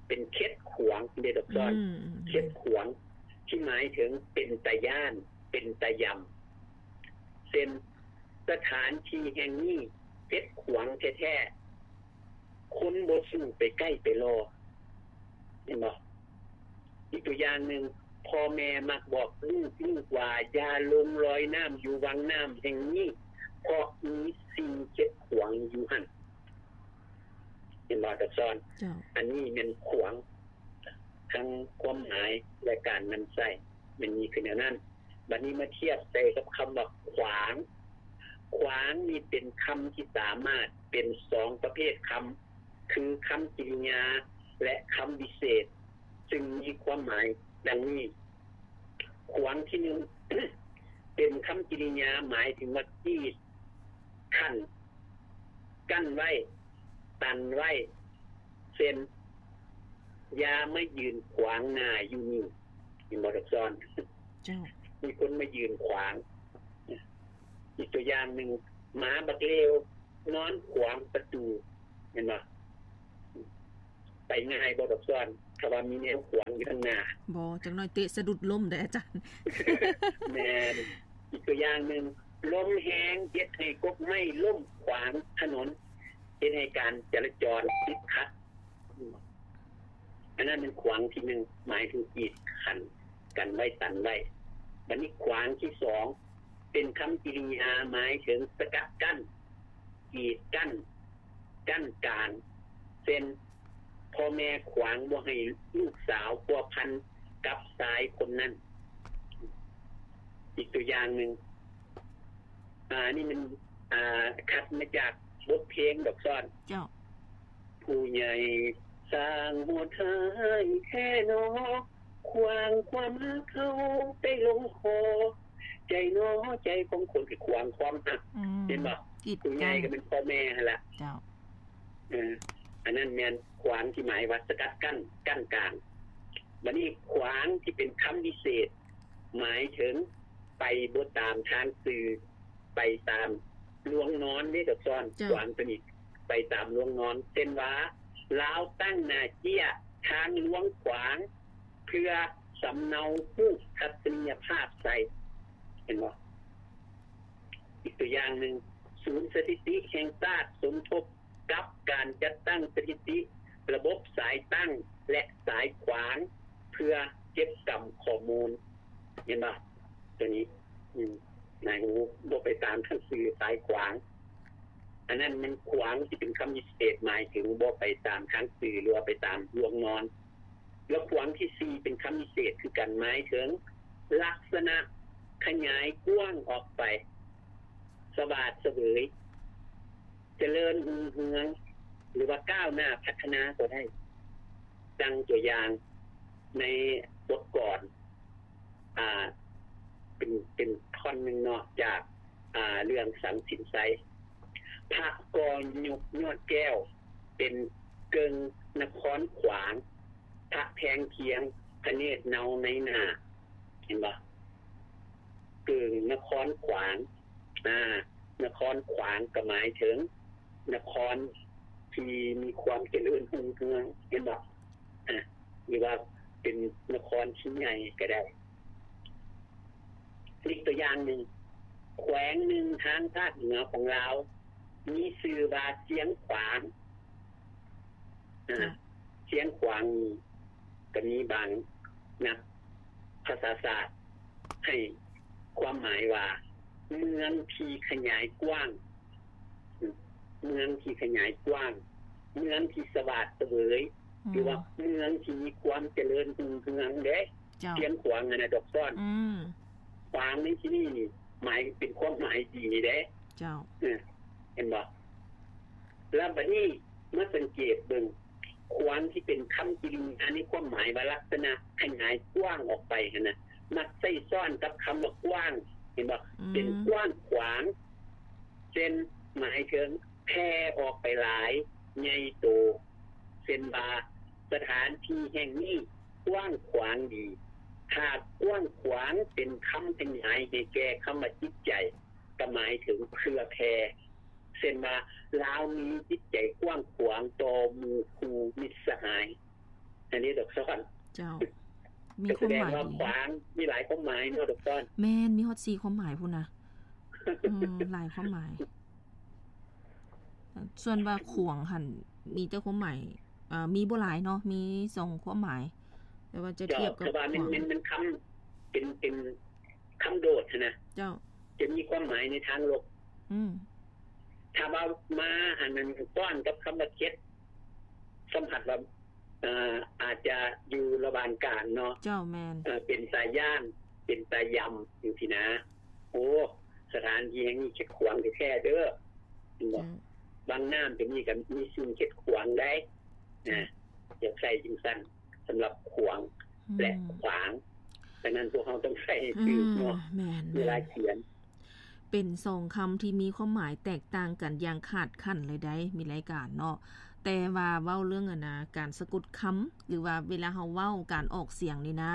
ເປັນເຂັດຂວາງເດ້ ດອກສອນ ອືມ ເຂັດຂວາງ ທີ່ໝາຍເຖິງເປັນຕາຢ້ານ ເປັນຕາຢຳ ເຊັ່ນ ສະຖານທີ່ແຫ່ງນີ້ເຂັດຂວາງແທ້ໆ ຄົນບໍ່ສູ້ໄປໃກ້ໄປລໍ ເຫັນບໍ່? ອີກຕົວຢ່າງໜຶ່ງ ພໍ່ແມ່ມັກບອກລູກ ລູກວ່າ ຢ່າລົງລອຍນ້ຳຢູ່ວັງນ້ຳແຫ່ງນີ້ ເພາະມີສິ່ງເຂັດຂວາງຢູ່ຫັ້ນ ເຫັນບໍ່ ດອກສອນ? ເຈົ້າ ອັນນີ້ແມ່ນຂວາງ ທັງຄວາມໝາຍ ແລະ ການນຳໃຊ້ ແມ່ນມີຄືແນວນັ້ນ. ບັດນີ້ມາທຽບໃສ່ກັບຄຳວ່າຂວາງ. ຂວາງນີ້ເປັນຄຳທີ່ສາມາດເປັນສອງປະເພດຄຳ ຄືຄຳກິລິຍາ ແລະ ຄຳວິເສດ ຊຶ່ງມີຄວາມໝາຍດັ່ງນີ້. ຂວາງທີໜຶ່ງ ເປັນຄຳກິລິຍາ ໝາຍເຖິງວ່າກີດ ຂັ້ນ ກັ້ນໄວ້ ຕັນໄວ້ ເຊັ່ນ ຢ່າມາຢືນຂວາງໜ້າຢູ່ນີ້ ເຫັນບໍ່ ດອກສອນ? ເຈົ້າ ມີຄົນມາຢືນຂວາງ. ອີກຕົວຢ່າງໜຶ່ງ ໝາບັກເລວນອນຂວາງປະຕູ ເຫັນບໍ່? ໄປງ່າຍບໍ່ ດອກສອນ ຖ້າວ່າມີແນວຂວາງຢູ່ທາງໜ້າ? ບໍ່ ຈັກໜ້ອຍເຕະສະດຸດລົ້ມເດ້ອາຈານ. ແມ່ນ. ອີກຕົວຢ່າງໜຶ່ງ ລົມແຮງເຮັດໃຫ້ກົກໄມ້ລົ້ມຂວາງຖະໜົນ ເຮັດໃຫ້ການຈະລາຈອນຕິດຂັດ. ອັນນັ້ນແມ່ນຂວາງທີໜຶ່ງ ໝາຍເຖິງກີດຂັ້ນ ກັນໄວ້ ຕັນໄວ້. ບັດນີ້ຂວາງທີສອງ ເປັນຄຳກິລິຍາໝາຍເຖິງສະກັດກັ້ນ, ກີດກັ້ນ, ກັ້ນກາງ ເຊັ່ນ ພໍ່ແມ່ຂວາງບໍ່ໃຫ້ລູກສາວພົວພັນກັບຊາຍຄົນນັ້ນ. ອີກຕົວຢ່າງໜຶ່ງ ອາ ນີ້ມັນ ອາ ຄັດມາຈາກບົດເພງດອກຊ້ອນ. ເຈົ້າ. ຜູ້ໃຫຍ່ຊ່າງໂຫດຮ້າຍແທ້ໜໍ, ຂວາງຄວາມຮັກເຮົາໄດ້ລົງຄໍ, ໃຈໜໍໃຈຂອງຄົນທີ່ຂວາງຄວາມຮັກ. ອືມ. ເຫັນບໍ່? ກີດກັ້ນ. ຜູ້ໃຫຍ່ກໍແມ່ນພໍ່ແມ່ຫັ້ນລະ. ເຈົ້າ. ເອີ ອັນນັ້ນແມ່ນຂວາງທີ່ໝາຍວ່າສະກັດກັ້ນ, ກັ້ນກາງ. ບັດນີ້ຂວາງທີ່ເປັນຄຳວິເສດ ໝາຍເຖິງໄປບໍ່ຕາມທາງຊື່, ໄປຕາມລວງນອນເດ້ດອກຊ້ອນ. ເຈົ້າ. ຂວາງຕົວນີ້ໄປຕາມລວງນອນ ເຊັ່ນວ່າ ລາວຕັ້ງໜ້າເຈ້ຍທາງລວງຂວາງ ເພື່ອສຳເນົາຮູບທັດສະນີຍະພາບໃສ່. ເຫັນບໍ່? ອີກຕົວຢ່າງໜຶ່ງ ສູນສະຖິຕິແຫ່ງຊາດສົມທົບ ກັບການຈັດຕັ້ງສະຖິຕິ ລະບົບສາຍຕັ້ງ ແລະ ສາຍຂວາງ ເພື່ອເກັບກຳຂໍ້ມູນ. ເຫັນບໍ່? ຕົວນີ້ ອືມ ນາຍຮູ້ ບໍ່ໄປຕາມທາງຊື່ ສາຍຂວາງ. ອັນນັ້ນແມ່ນຂວາງທີ່ເປັນຄຳວິເສດ ໝາຍເຖິງບໍ່ໄປຕາມທາງຊື່ ຫຼືວ່າໄປຕາມລວງນອນ. ແລ້ວຂວາງທີສີ່ ເປັນຄຳວິເສດຄືກັນ ໝາຍເຖິງລັກສະນະຂະຫຍາຍກວ້າງອອກໄປ, ສະຫວາດສະເຫວີຍ, ຈະເລີນຮຸ່ງເຮືອງ ຫຼືວ່າກ້າວໜ້າພັດທະນາກໍໄດ້. ດັ່ງຕົວຢ່າງໃນບົດກອນ ອ່າ ເປັນ ເປັນທ່ອນໜຶ່ງເນາະ ຈາກ ອ່າ ເລື່ອງສັງສິນໄຊ. ພະກໍຍົກຍອດແກ້ວ ເປັນເກິ່ງນະຄອນຂວາງ, ພະແພງພຽງ ພະເນດເນົາໃນໜ້າ. ເຫັນບໍ່? ເກິ່ງນະຄອນຂວາງ. ອາ ນະຄອນຂວາງກໍໝາຍເຖິງນະຄອນທີ່ມີຄວາມຈະເລີນຮຸ່ງເຮືອງ. ເຫັນບໍ່? ອາ ຫຼືວ່າເປັນນະຄອນທີ່ໃຫຍ່ກໍໄດ້. ອີກຕົວຢ່າງໜຶ່ງ, ແຂວງໜຶ່ງທາງພາກເໜືອຂອງລາວ ມີຊື່ວ່າຊຽງຂວາງ. ອາ ຊຽງຂວາງນີ້ກໍມີບາງນັກພາສາສາດໃຫ້ຄວາມໝາຍວ່າ ເມືອງທີ່ຂະຫຍາຍກວ້າງ, ເມືອງທີ່ຂະຫຍາຍກວ້າງ, ເມືອງທີ່ສະຫວາດສະເຫວີຍ ອືມ ຫຼືວ່າເມືອງທີ່ມີຄວາມຈະເລີນຮຸ່ງເຮືອງເດ້. ເຈົ້າ. ຊຽງຂວາງຫັ້ນນະດອກຊ້ອນ. ອືມ. ຂວາງໃນທີ່ນີ້ນີ້ ໝາຍເປັນຄວາມໝາຍດີເດ້. ເຈົ້າ. ເອີ ເຫັນບໍ່? ແລ້ວບັດນີ້ມາສັງເກດເບິ່ງ ຂວາງທີ່ເປັນຄຳກິລິຍາໃນຄວາມໝາຍວ່າລັກສະນະຂະຫຍາຍກວ້າງອອກໄປຫັ້ນນະ ມັກໃຊ້ຊ້ອນກັບຄຳວ່າກວ້າງ. ເຫັນບໍ່? ອືມ. ເປັນກວ້າງຂວາງ ເຊັ່ນ ໝາຍເຖິງແຜ່ອອກໄປຫຼາຍ, ໃຫຍ່ໂຕ. ເຊັ່ນວ່າ ສະຖານທີ່ແຫ່ງນີ້ກວ້າງຂວາງດີ. ຖ້າກວ້າງຂວາງເປັນຄຳຂະຫຍາຍໃຫ້ແກ່ຄຳວ່າຈິດໃຈ ກໍໝາຍເຖິງເຜື່ອແຜ່. ເຊັ່ນວ່າ ລາວມີຈິດໃຈກວ້າງຂວາງຕໍ່ໝູ່ຄູ່ມິດສະຫາຍ. ອັນນີ້ດອກຊ້ອນ. ເຈົ້າ. ມີຄວາມໝາຍດີ. ກໍສະແດງວ່າຂວາງມີຫຼາຍຄວາມໝາຍເນາະດອກຊ້ອນ. ແມ່ນ, ມີຮອດສີ່ຄວາມໝາຍພຸ້ນນະ. ເອີ, ຫຼາຍຄວາມໝາຍ. ສ່ວນວ່າຂວາງຫັ້ນ ມີແຕ່ຄວາມໝາຍ, ເອີ, ມີບໍ່ຫຼາຍເນາະ, ມີສອງຄວາມໝາຍ. ແຕ່ວ່າຈະທຽບກັບຂວາງ. ເຈົ້າ, ແຕ່ວ່າມັນ, ມັນ, ມັນຄຳ, ເປັນ, ເປັນຄຳໂດດຫັ້ນນະ. ເຈົ້າ. ຈະມີຄວາມໝາຍໃນທາງລົບ. ອືມ. ຖ້າວ່າມາອັນນັ້ນ ຕ້ອນກັບຄຳວ່າເຂັດ, ສຳຜັດວ່າ ເອີ ອາດຈະຢູ່ລະຫວ່າງກາງເນາະ. ເຈົ້າ, ແມ່ນ. ເອີ ເປັນຕາຢ້ານ, ເປັນຕາຢຳ ຈັ່ງຊີ້ນະ. ໂອ້ ສະຖານທີ່ແຫ່ງນີ້ເຂັດຂວາງແທ້ໆເດີ. ເຫັນບໍ່? ເຈົ້າ. ວັງນ້ຳຕົວນີ້ກໍມີສິ່ງເຂັດຂວາງໄດ໋ ເຈົ້າ ນະ, ຢາກໃຊ້ຈັ່ງຊັ້ນ ສຳລັບຂວາງ ອືມ ແລະ ຂວາງ. ສະນັ້ນພວກເຮົາຕ້ອງໃຊ້ໃຫ້ຖືກເນາະ ອືມ ແມ່ນໆ ເວລາຂຽນ. ເປັນສອງຄຳທີ່ມີຄວາມໝາຍແຕກຕ່າງກັນຢ່າງຂາດຂັ້ນເລີຍໄດ໋ ມີລາຍການເນາະ. ແຕ່ວ່າເວົ້າເລື່ອງ ອັນນະ ການສະກົດຄຳ ຫຼືວ່າເວລາເຮົາເວົ້າ ການອອກສຽງນີ້ນະ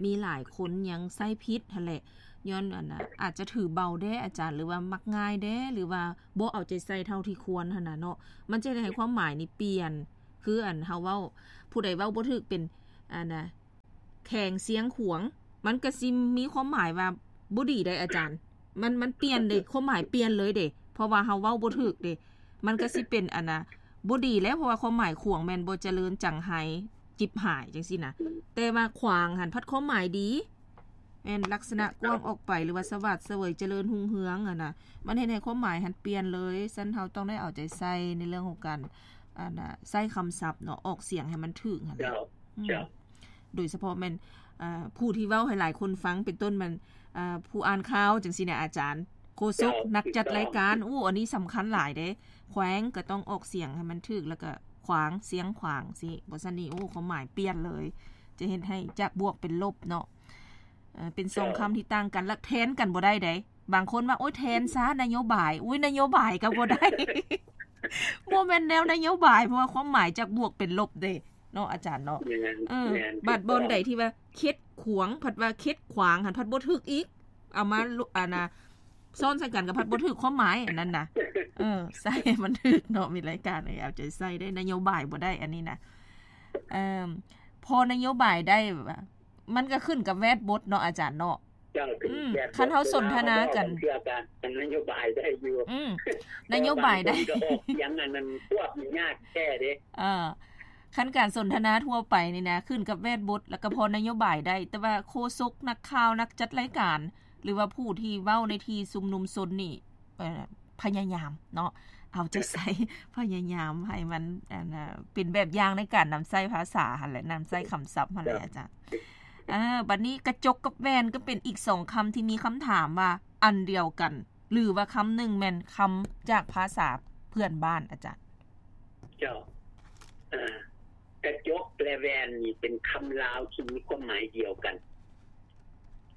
ມີຫຼາຍຄົນຍັງໃຊ້ຜິດຫັ້ນແຫຼະ ຍ້ອນ ອັນນະ ອາດຈະຖືເບົາແດ່ອາຈານ ຫຼືວ່າມັກງ່າຍແດ່ ຫຼືວ່າບໍ່ເອົາໃຈໃສ່ເທົ່າທີ່ຄວນຫັ້ນນະເນາະ. ມັນຈະເຮັດໃຫ້ຄວາມໝາຍນີ້ປ່ຽນ ຄື ອັນ ເຮົາເວົ້າ ຜູ້ໃດເວົ້າບໍ່ຖືກເປັນ ອັນນະ ແຂວງຊຽງຂວາງ ມັນກະຊິມີຄວາມໝາຍວ່າບໍ່ດີໄດ໋ອາຈານ. ມັນ, ມັນປ່ຽນເດ້, ຄວາມໝາຍປ່ຽນເລີຍເດ້ ເພາະວ່າເຮົາເວົ້າບໍ່ຖືກເດ້. ມັນກະຊິເປັນ ອັນນະ ບໍ່ດີແລ້ວ ເພາະວ່າຄວາມໝາຍຂວາງແມ່ນບໍ່ຈະເລີນ, ຈັງໄຫ້, ຈິບຫາຍ ຈັ່ງຊີ້ນະ. ແຕ່ວ່າຂວາງຫັ້ນພັດຄວາມໝາຍດີ. ແມ່ນລັກສະນະກວ້າງອອກໄປ ຫຼືວ່າສະຫວາດສະເຫວີຍຈະເລີນຮຸ່ງເຮືອງຫັ້ນນະ ມັນເຮັດໃຫ້ຄວາມໝາຍຫັ້ນປ່ຽນເລີຍ. ຊັ້ນເຮົາຕ້ອງໄດ້ເອົາໃຈໃສ່ໃນເລື່ອງຂອງການ ອັນນະ ໃຊ້ຄຳສັບເນາະ ອອກສຽງໃຫ້ມັນຖືກຫັ້ນແຫຼະ. ເຈົ້າ ອືມ ເຈົ້າ ໂດຍສະເພາະແມ່ນ ເອີ ຜູ້ທີ່ເວົ້າໃຫ້ຫຼາຍຄົນຟັງ ເປັນຕົ້ນແມ່ນ ເອີ ຜູ້ອ່ານຂ່າວຈັ່ງຊີ້ນະ ອາຈານ ໂຄສົກ ເຈົ້າ ນັກຈັດລາຍການ ໂອ້ ອັນນີ້ສຳຄັນຫຼາຍເດ້. ແຂວງກໍຕ້ອງອອກສຽງໃຫ້ມັນຖືກ ແລ້ວກໍຂວາງ ຊຽງຂວາງ ຊີ້ ບໍ່ຊັ້ນນີ້ ໂອ້ ຄວາມໝາຍປ່ຽນເລີຍ ຈະເຮັດໃຫ້ຈາກບວກເປັນລົບເນາະ. ເອີ ເປັນສອງຄຳທີ່ຕ່າງກັນ ແລ້ວແທນກັນບໍ່ໄດ້ເດ້. ບາງຄົນວ່າ ໂອ້ຍ ແທນຊະ ນະໂຍບາຍ ໂອ້ຍ ນະໂຍບາຍກໍບໍ່ໄດ້ ບໍ່ແມ່ນແນວນະໂຍບາຍ ເພາະວ່າຄວາມໝາຍຈາກບວກເປັນລົບເດ້ເນາະ ອາຈານເນາະ. ແມ່ນ ເອີ ແມ່ນ ບາດບ່ອນໃດທີ່ວ່າເຂັດຂວາງ ພັດວ່າເຂັດຂວາງຫັ້ນ ພັດບໍ່ຖືກອີກ ເອົາມາ ອັນນະ ຊ້ອນໃສ່ກັນກໍພັດບໍ່ຖືກຄວາມໝາຍ ອັນນັ້ນນະ. ເອີ ໃສ່ໃຫ້ມັນຖືກເນາະ ມີລາຍການເອີຍ ເອົາໃຈໃສ່ໄດ້ ນະໂຍບາຍບໍ່ໄດ້ ອັນນີ້ນະ. ເອີ ພໍນະໂຍບາຍໄດ້ ມັນກໍຂຶ້ນກັບແວດບົດເນາະ ອາຈານເນາະ. ເຈົ້າ ອືມ ຄັນເຮົາສົນທະນາກັນ ເທື່ອການນະໂຍບາຍໄດ້ຢູ່ ອືມ ນະໂຍບາຍໄດ້ ບາງຄົນກໍອອກສຽງອັນນັ້ນຄວບນີ້ຍາກແທ້ເດ້. ເອີ ຄັນການສົນທະນາທົ່ວໄປນີ້ນະ ຂຶ້ນກັບແວດບົດ ແລ້ວກໍພໍນະໂຍບາຍໄດ້ ແຕ່ວ່າໂຄສົກ ນັກຂ່າວ ນັກຈັດລາຍການ ຫຼືວ່າຜູ້ທີ່ເວົ້າໃນທີ່ຊຸມນຸມຊົນນີ້ ເອີ ພະຍາຍາມເນາະ ເອົາໃຈໃສ່ ພະຍາຍາມໃຫ້ມັນ ອັນນະ ເປັນແບບຢ່າງໃນການນຳໃຊ້ພາສາຫັ້ນແຫຼະ ນຳໃຊ້ຄຳສັບຫັ້ນແຫຼະ ອາຈານ. ເອີ ບັດນີ້ກະຈົກກັບແວ່ນກໍເປັນອີກສອງຄຳທີ່ມີຄຳຖາມວ່າອັນດຽວກັນ ຫຼືວ່າຄຳໜຶ່ງແມ່ນຄຳຈາກພາສາເພື່ອນບ້ານ ອາຈານ. ເຈົ້າ ເອີ ກະຈົກ ແລະ ແວ່ນນີ້ເປັນຄຳລາວທີ່ມີຄວາມໝາຍດຽວກັນ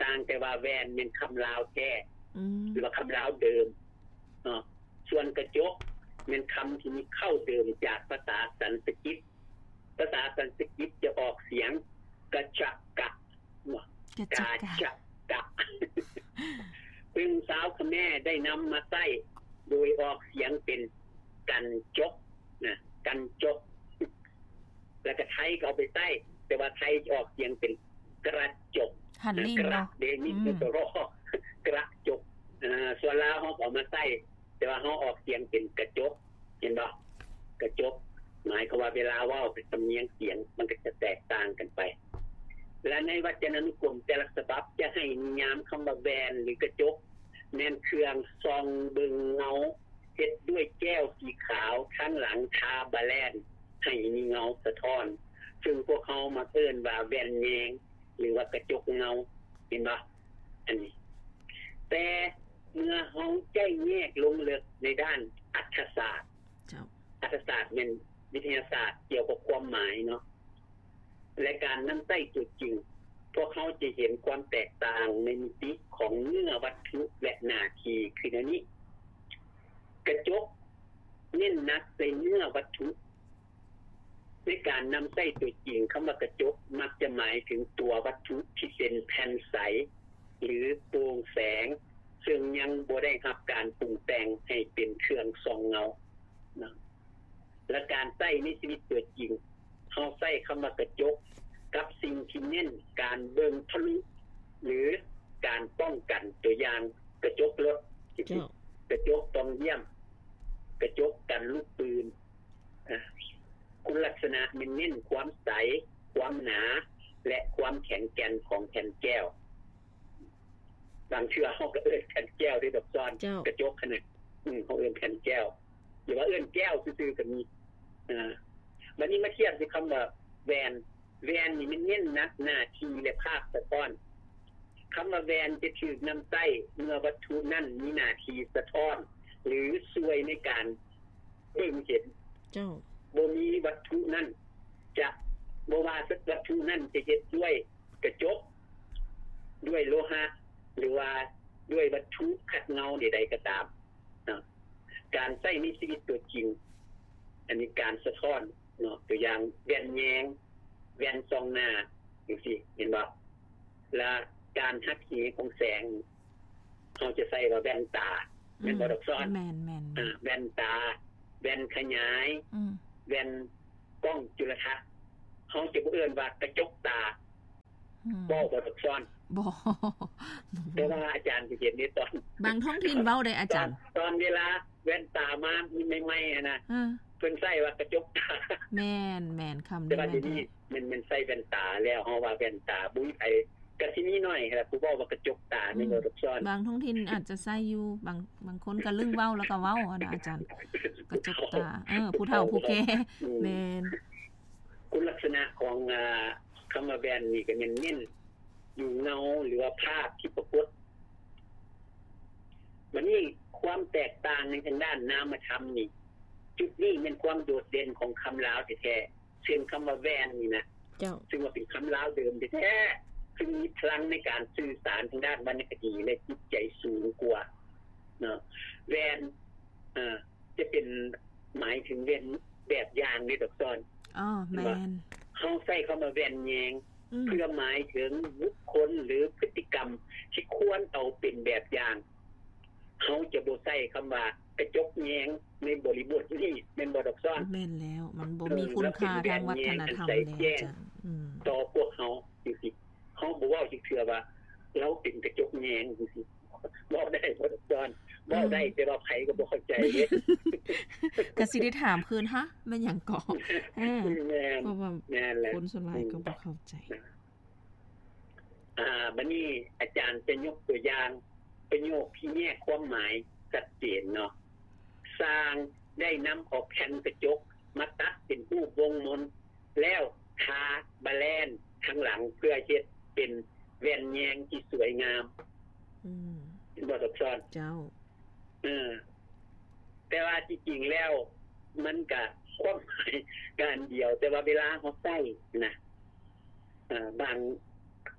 ຕ່າງແຕ່ວ່າແວ່ນແມ່ນຄຳລາວແທ້ ອືມ ຫຼືວ່າຄຳລາວເດີມເນາະ. ສ່ວນກະຈົກແມ່ນຄຳທີ່ມີເຄົ້າເດີມຈາກພາສາສັນສະກິດ. ພາສາສັນສະກິດຈະອອກສຽງກະຈະກະ ກະຈະກະ ກາຈະກະ ຊຶ່ງຊາວຂະແມໄດ້ນຳມາໃຊ້ໂດຍອອກສຽງເປັນກັນຈົກນະ ກັນຈົກ. ແລ້ວກໍໄທກໍເອົາໄປໃຊ້ ແຕ່ວ່າໄທຈະອອກສຽງເປັນກະຈົກ ຫັນລິ້ນເນາະ ເດ ມີ ອືມ ໂຕ ຣ ກະຈົກ. ເອີ ສ່ວນລາວເຮົາກໍເອົາມາໃຊ້ ແຕ່ວ່າເຮົາອອກສຽງເປັນກະຈົກ ເຫັນບໍ່? ກະຈົກ ໝາຍຄວາມວ່າເວລາເວົ້າ ສຳນຽງສຽງມັນກໍຈະແຕກຕ່າງກັນໄປ. ແລະ ໃນວັດຈະນານຸກົມແຕ່ລະສະບັບຈະໃຫ້ນິຍາມຄຳວ່າແວ່ນ ຫຼື ກະຈົກ ແມ່ນເຄື່ອງສ່ອງເບິ່ງເງົາ ເຮັດດ້ວຍແກ້ວສີຂາວ ທາງຫຼັງທາບາແລນ ໃຫ້ມີເງົາສະທ້ອນ ເຊິ່ງພວກເຮົາມັກເອີ້ນວ່າແວ່ນແຍງ ຫຼືວ່າກະຈົກເງົາ ເຫັນບໍ່? ອັນນີ້ ແຕ່ເມື່ອເຮົາໃຈແຍກລົງເລິກໃນດ້ານອັດຖະສາດ ເຈົ້າ ອັດຖະສາດແມ່ນວິທະຍາສາດກ່ຽວກັບຄວາມໝາຍເນາະ ແລະ ການນຳໃຊ້ຕົວຈິງ ພວກເຮົາຈະເຫັນຄວາມແຕກຕ່າງໃນມິຕິຂອງເນື້ອວັດຖຸ ແລະ ໜ້າທີ່ ຄືແນວນີ້. ກະຈົກເນັ້ນໜັກໃສ່ເນື້ອວັດຖຸ. ໃນການນຳໃຊ້ຕົວຈິງ, ຄຳວ່າກະຈົກມັກຈະໝາຍເຖິງຕົວວັດຖຸທີ່ເປັນແຜ່ນໃສ ຫຼື ໂປ່ງແສງ, ເຊິ່ງຍັງບໍ່ໄດ້ຮັບການປຸງແຕ່ງໃຫ້ເປັນເຄື່ອງສ່ອງເງົານະ. ແລະ ການໃຊ້ໃນຊີວິດຕົວຈິງ, ເຮົາໃຊ້ຄຳວ່າກະຈົກກັບສິ່ງທີ່ເນັ້ນການເບິ່ງທະລຸ ຫຼື ການປ້ອງກັນ, ຕົວຢ່າງ ກະຈົກລົດ, ເຈົ້າ ກະຈົກປ່ອງຢ້ຽມ, ກະຈົກກັນລູກປືນ. ອາ ຄຸນລັກສະນະແມ່ນເນັ້ນຄວາມໃສ, ຄວາມໜາ ແລະ ຄວາມແຂງແກ່ນຂອງແຜ່ນແກ້ວ. ບາງເທື່ອເຮົາກໍເອີ້ນແຜ່ນແກ້ວເດ້ດອກຊອນ, ເຈົ້າ ກະຈົກຫັ້ນນະ ອືມ ເຮົາເອີ້ນແຜ່ນແກ້ວ ຫຼືວ່າເອີ້ນແກ້ວຊື່ໆກໍມີ. ອາ ບັດນີ້ມາທຽບໃສ່ຄຳວ່າແວ່ນ. ແວ່ນນີ້ແມ່ນເນັ້ນໜັກໜ້າທີ່ ແລະ ພາບສະທ້ອນ. ຄຳວ່າແວ່ນຈະຖືກນຳໃຊ້ເມື່ອວັດຖຸນັ້ນມີໜ້າທີ່ສະທ້ອນ ຫຼື ຊ່ວຍໃນການເບິ່ງເຫັນ. ເຈົ້າ ບໍ່ມີວັດຖຸນັ້ນຈະ ບໍ່ວ່າວັດຖຸນັ້ນຈະເຮັດດ້ວຍກະຈົກ, ດ້ວຍໂລຫະ ຫຼືວ່າດ້ວຍວັດຖຸຂັດເງົາໃດໆກໍຕາມ. ເນາະ ການໃຊ້ໃນຊີວິດຕົວຈິງ ອັນນີ້ການສະທ້ອນເນາະ ຕົວຢ່າງແວ່ນແຍງ, ແວ່ນສ່ອງໜ້າ ຈັ່ງຊີ້ ເຫັນບໍ່? ລະການຫັກເຫຂອງແສງ ເຮົາຈະໃຊ້ວ່າແວ່ນຕາ ແມ່ນບໍ່ດອກຊອນ? ແມ່ນໆ ອາ ແວ່ນຕາ, ແວ່ນຂະຫຍາຍ, ອືມ ແວ່ນກ້ອງຈຸລະທັດ ເຮົາຈະບໍ່ເອີ້ນວ່າກະຈົກຕາ. ອືມ ເວົ້າບໍ່ທັນຊ້ອນ ບໍ່ ແຕ່ວ່າອາຈານຊິເຫັນໃນຕອນ ບາງທ້ອງຖິ່ນເວົ້າໄດ້ອາຈານ ຕອນ ຕອນເວລາແວ່ນຕາມາໃໝ່ໆຫັ້ນນະ ເອີ ເພິ່ນໃຊ້ວ່າກະຈົກຕາ ແມ່ນໆ ຄຳນີ້ ແມ່ນແທ້ ແມ່ນ ແມ່ນໃສ່ແວ່ນຕາແລ້ວ ເຮົາວ່າແວ່ນຕາ ບໍ່ມີໃຜ ກະຊິມີໜ້ອຍແຫຼະ ຜູ້ເວົ້າວ່າກະຈົກຕາ ແມ່ນບໍ່ ອືມ ດອກຊອນ? ບາງທ້ອງຖິ່ນອາດຈະໃຊ້ຢູ່ ບາງ ບາງຄົນກະລຶ້ງເວົ້າແລ້ວກະເວົ້າຫັ້ນນະອາຈານ ກະຈົກຕາ ເອີ ຜູ້ເຖົ້າຜູ້ແກ່ ອືມ ແມ່ນ ຄຸນລັກສະນະຂອງ ອາ ຄຳວ່າແວ່ນນີ້ກະແມ່ນເນັ້ນຢູ່ເງົາ ຫຼືວ່າພາບທີ່ປາກົດ. ບາດນີ້ຄວາມແຕກຕ່າງໃນທາງດ້ານນາມະທຳນີ້ ຈຸດນີ້ແມ່ນຄວາມໂດດເດັ່ນຂອງຄຳລາວແທ້ໆ ເຊັ່ນຄຳວ່າແວ່ນນີ້ນະ ເຈົ້າ ຊຶ່ງວ່າເປັນຄຳລາວເດີມແທ້ໆ ຊຶ່ງມີພະລັງໃນການສື່ສານທາງດ້ານວັນນະຄະດີ ແລະ ຈິດໃຈສູງກວ່າເນາະ. ແວ່ນ ເອີ ຈະເປັນ ໝາຍເຖິງແວ່ນແບບຢ່າງເດ້ ດອກຊອນ. ອໍ ແມ່ນ ເຮົາໃຊ້ຄຳວ່າແວ່ນແຍງ ອືມ ເພື່ອໝາຍເຖິງບຸກຄົນ ຫຼື ພຶດຕິກຳທີ່ຄວນເອົາເປັນແບບຢ່າງ. ເຮົາຈະບໍ່ໃຊ້ຄຳວ່າກະຈົກແຍງໃນບໍລິບົດນີ້ ແມ່ນບໍ່ ດອກຊອນ? ແມ່ນແລ້ວ ມັນບໍ່ມີຄຸນຄ່າທາງວັດທະນະທຳແລ້ວ ອືມ ຕໍ່ພວກເຮົາຈັ່ງຊີ້. ເຮົາບໍ່ເວົ້າຈັກເທື່ອວ່າລາວເປັນກະຈົກແຍງຈັ່ງຊີ້. ເວົ້າໄດ້ບໍ່ ດອກຊອນ? ເວົ້າໄດ້ ອືມ ແຕ່ວ່າໃຜກໍບໍ່ເຂົ້າໃຈເດ້. ກະຊິໄດ້ຖາມຄືນ ຮະ ແມ່ນຫຍັງເກາະ? ເອີ ແມ່ນ ເພາະວ່າ ແມ່ນແຫຼະ ຄົນສ່ວນຫຼາຍກໍບໍ່ເຂົ້າໃຈ. ອືມ ອາ ບາດນີ້ອາຈານຈະຍົກຕົວຢ່າງປະໂຫຍກທີ່ແຍກຄວາມໝາຍຊັດເຈນເນາະ. ຊ່າງໄດ້ນຳເອົາແຜ່ນກະຈົກມາຕັດເປັນຮູບວົງມົນ ແລ້ວທາບາແລນທາງຫຼັງ ເພື່ອເຮັດເປັນແວ່ນແຍງທີ່ສວຍງາມ. ອືມ ເຫັນບໍ່ ດອກຊອນ? ເຈົ້າ ເອີ ແຕ່ວ່າທີ່ຈິງແລ້ວມັນກະ ຄວາມໝາຍກະອັນດຽວ ແຕ່ວ່າເວລາເຮົາໃຊ້ນະ ເອີ ບາງ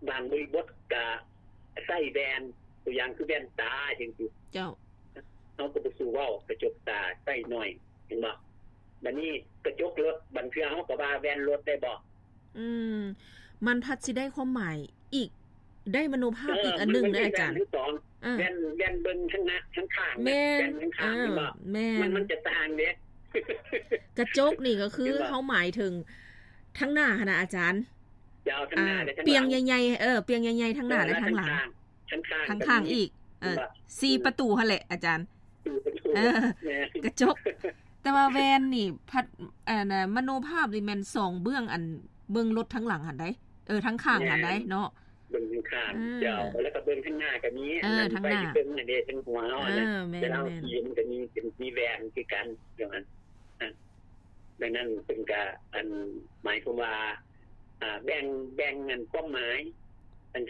ບາງບໍລິບົດກະໃຊ້ແວ່ນ ຕົວຢ່າງຄືແວ່ນຕາຈັ່ງຊີ້. ເຈົ້າ ເຮົາກໍບໍ່ສູ້ເວົ້າກະຈົກຕາໃຊ້ໜ້ອຍ ເຫັນບໍ່? ບາດນີ້ກະຈົກລົດ ບາງເທື່ອເຮົາກໍວ່າແວ່ນລົດໄດ້ບໍ່? ອືມ ມັນພັດຊິໄດ້ຄວາມໝາຍອີກ ໄດ້ມະໂນພາບ ເອີ ອີກອັນໜຶ່ງເດ້ອາຈານ. ແວ່ນ ແວ່ນເບິ່ງທາງໜ້າ ທາງຂ້າງ ແມ່ນ ແວ່ນທາງຂ້າງ ເອີ ເຫັນບໍ່? ແມ່ນ ມັນ ມັນຈະຕ່າງເດ້. ກະຈົກນີ້ກໍຄື ເຫັນບໍ່? ເຮົາໝາຍເຖິງທາງໜ້າຫັ້ນນະອາຈານ. ເຈົ້າ ທາງໜ້າ ອາ ແລະທາງຫຼັງ ປ່ຽງໃຫຍ່ໆ ເອີ ປ່ຽງໃຫຍ່ໆ ທາງໜ້າ ເອີ ແລະທາງຂ້າງ. ທາງຂ້າງ ທາງຂ້າງອີກ ເອີ ສີ່ປະຕູຫັ້ນແຫຼະອາຈານ. ສີ່ປະຕູ ເອີ ແມ່ນ ກະຈົກ. ແຕ່ວ່າແວ່ນນີ້ພັດ ອັນນະ ມະໂນພາບນີ້ແມ່ນສອງເບື້ອງ ອັນເບິ່ງລົດທາງຫຼັງຫັ້ນໃດ໋ ເອີ ທາງຂ້າງຫັ້ນໃດ໋ເນາະ. ເບິ່ງທາງຂ້າງ ອືມ ເຈົ້າ ແລ້ວກໍເບິ່ງທາງໜ້າກໍມີ ເອີ ອັນນັ້ນ ທາງໜ້າ ໄປເບິ່ງນັ້ນເດ້ ທາງຫົວເຮົາ ເອີ ຫັ້ນນະ ແມ່ນໆ ເວລາເຮົາຂີ່ມັນກໍມີ ເປັນ ມີແວ່ນຄືກັນ ຈັ່ງນັ້ນ. ດັ່ງນັ້ນເພິ່ນກະ ອັນ ໝາຍຄວາມວ່າ ອາ ແບ່ງ ແບ່ງອັນຄວາມໝາຍ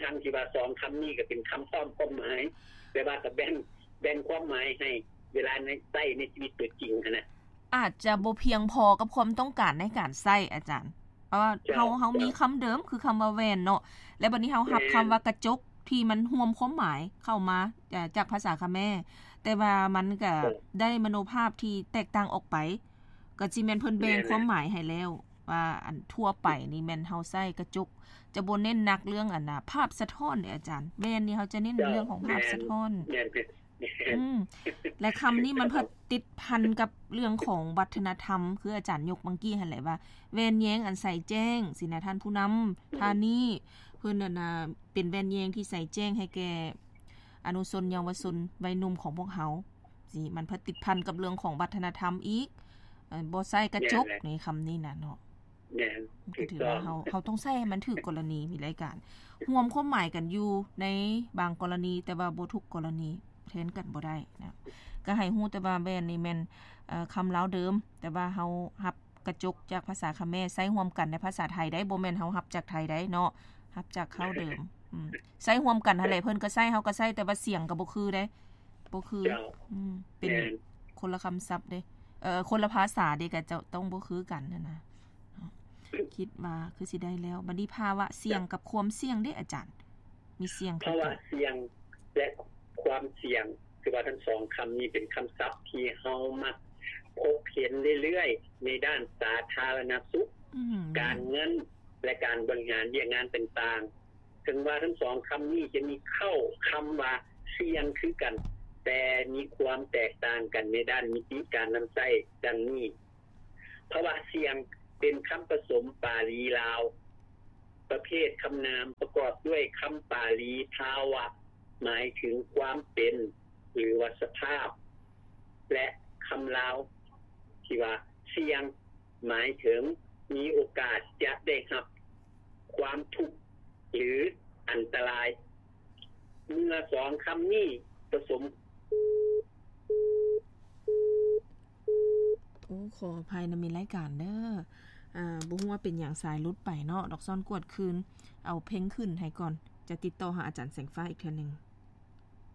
ທັງໆທີ່ວ່າສອງຄຳນີ້ກະເປັນຄຳພ້ອມຄວາມໝາຍ ແຕ່ວ່າກະແບ່ງ ແບ່ງຄວາມໝາຍໃຫ້ເວລາໃນ ໃຊ້ໃນຊີວິດຕົວຈິງຫັ້ນນະ ອາດຈະບໍ່ພຽງພໍກັບຄວາມຕ້ອງການໃນການໃຊ້ອາຈານ. ເພາະວ່າ ເຈົ້າ ເຮົາ ເຮົາມີຄຳເດີມຄືຄຳວ່າແວ່ນເນາະ ແລ້ວບັດນີ້ເຮົາຮັບ ແມ່ນ ຄຳວ່າກະຈົກທີ່ມັນຮ່ວມຄວາມໝາຍເຂົ້າມາ ເອີ ຈາກພາສາຂະແມ ແຕ່ວ່າມັນກະ ເຈົ້າ ໄດ້ມະໂນພາບທີ່ແຕກຕ່າງອອກໄປ. ກໍຊິແມ່ນເພິ່ນແບ່ງ ແມ່ນແຫຼະ ຄວາມໝາຍໃຫ້ແລ້ວ ວ່າອັນທົ່ວໄປນີ້ແມ່ນເຮົາໃຊ້ກະຈົກ ຈະບໍ່ເນັ້ນໜັກເລື່ອງອັນນະ ພາບສະທ້ອນເດ້ອາຈານ. ແວ່ນນີ້ເຮົາຈະເນັ້ນ ເຈົ້າ ເລື່ອງຂອງພາບສະທ້ອນ ແມ່ນ ແມ່ນ ອືມ ແລະຄຳນີ້ມັນເພິ່ນຕິດພັນກັບເລື່ອງຂອງວັດທະນະທຳ ຄືອາຈານຍົກເມື່ອກີ້ຫັ້ນແຫຼະວ່າ ແວ່ນແຍງອັນໃສແຈ້ງ ຊີ້ນະ ທ່ານຜູ້ນຳ ອືມ ທ່ານນີ້ ເພິ່ນອັນນະ ເປັນແວ່ນແຍງທີ່ໃສແຈ້ງໃຫ້ແກ່ອະນຸຊົນເຍົາວະຊົນໄວໜຸ່ມຂອງພວກເຮົາ. ຊິ ມັນເພິ່ນຕິດພັນກັບເລື່ອງຂອງວັດທະນະທຳອີກ ເອີ ບໍ່ໃຊ້ກະຈົກ ແມ່ນແຫຼະ ໃນຄຳນີ້ນະເນາະ. ແມ່ນ ມັນກໍຖືວ່າເຮົາ ເຮົາຕ້ອງໃຊ້ໃຫ້ມັນຖືກກໍລະນີ ມີລາຍການຮ່ວມຄວາມໝາຍກັນຢູ່ໃນບາງກໍລະນີ ແຕ່ວ່າບໍ່ທຸກກໍລະນີ ແທນກັນບໍ່ໄດ້ນະ. ກໍໃຫ້ຮູ້ແຕ່ວ່າແວ່ນນີ້ແມ່ນ ເອີ ຄຳລາວເດີມ ແຕ່ວ່າເຮົາຮັບກະຈົກຈາກພາສາຂະແມ ໃຊ້ຮ່ວມກັນໃນພາສາໄທໄດ້ ບໍ່ແມ່ນເຮົາຮັບຈາກໄທໄດ້ເນາະ ຮັບຈາກເຄົ້າເດີມ. ອືມ ໃຊ້ຮ່ວມກັນຫັ້ນແຫຼະ ເພິ່ນກໍໃຊ້ ເຮົາກໍໃຊ້ ແຕ່ວ່າສຽງກໍບໍ່ຄືເດ້. ບໍ່ຄື ເຈົ້າ ອືມ ເປັນ ແມ່ນ ຄົນລະຄຳສັບເດ້ ເອີ ຄົນລະພາສາເດ້ ກໍຈະຕ້ອງບໍ່ຄືກັນຫັ້ນນະ. ຄິດວ່າຄືຊິໄດ້ແລ້ວ. ບັດນີ້ພາວະສ່ຽງກັບຄວາມສ່ຽງເດ້ອາຈານ ມີສ່ຽງຄືກັນ? ພາວະສ່ຽງ ແລະ ຄວາມສ່ຽງ ຄືວ່າທັງສອງຄຳນີ້ເປັນຄຳສັບທີ່ເຮົາມັກພົບເຫັນເລື້ອຍໆ ໃນດ້ານສາທາລະນະສຸກ ອືມ ການເງິນ ແລະ ການບໍລິຫານວຽກງານຕ່າງໆ. ເຖິງວ່າທັງສອງຄຳນີ້ຈະມີເຄົ້າຄຳວ່າສ່ຽງຄືກັນ, ແຕ່ມີຄວາມແຕກຕ່າງກັນໃນດ້ານມິຕິການນຳໃຊ້ ດັ່ງນີ້. ພາວະສ່ຽງເປັນຄຳປະສົມປາລີລາວ ປະເພດຄຳນາມປະກອບດ້ວຍຄຳປາລີພາວະ ໝາຍເຖິງຄວາມເປັນ ຫຼືວ່າສະພາບ ແລະ ຄຳລາວທີ່ວ່າສ່ຽງ ໝາຍເຖິງມີໂອກາດຈະໄດ້ຮັບຄວາມທຸກ ຫຼື ອັນຕະລາຍ ເມື່ອສອງຄຳນີ້ປະສົມ. ໂອ້ ຂໍອະໄພນຳມິດລາຍການເດີ. ອ່າ ບໍ່ຮູ້ວ່າເປັນຫຍັງສາຍຫຼຸດໄປເນາະ. ດອກຊອນກວດຄືນ ເອົາເພງຂຶ້ນໃຫ້ກ່ອນ ຈະຕິດຕໍ່ຫາອາຈານແສງຟ້າອີກເທື່ອໜຶ່ງ.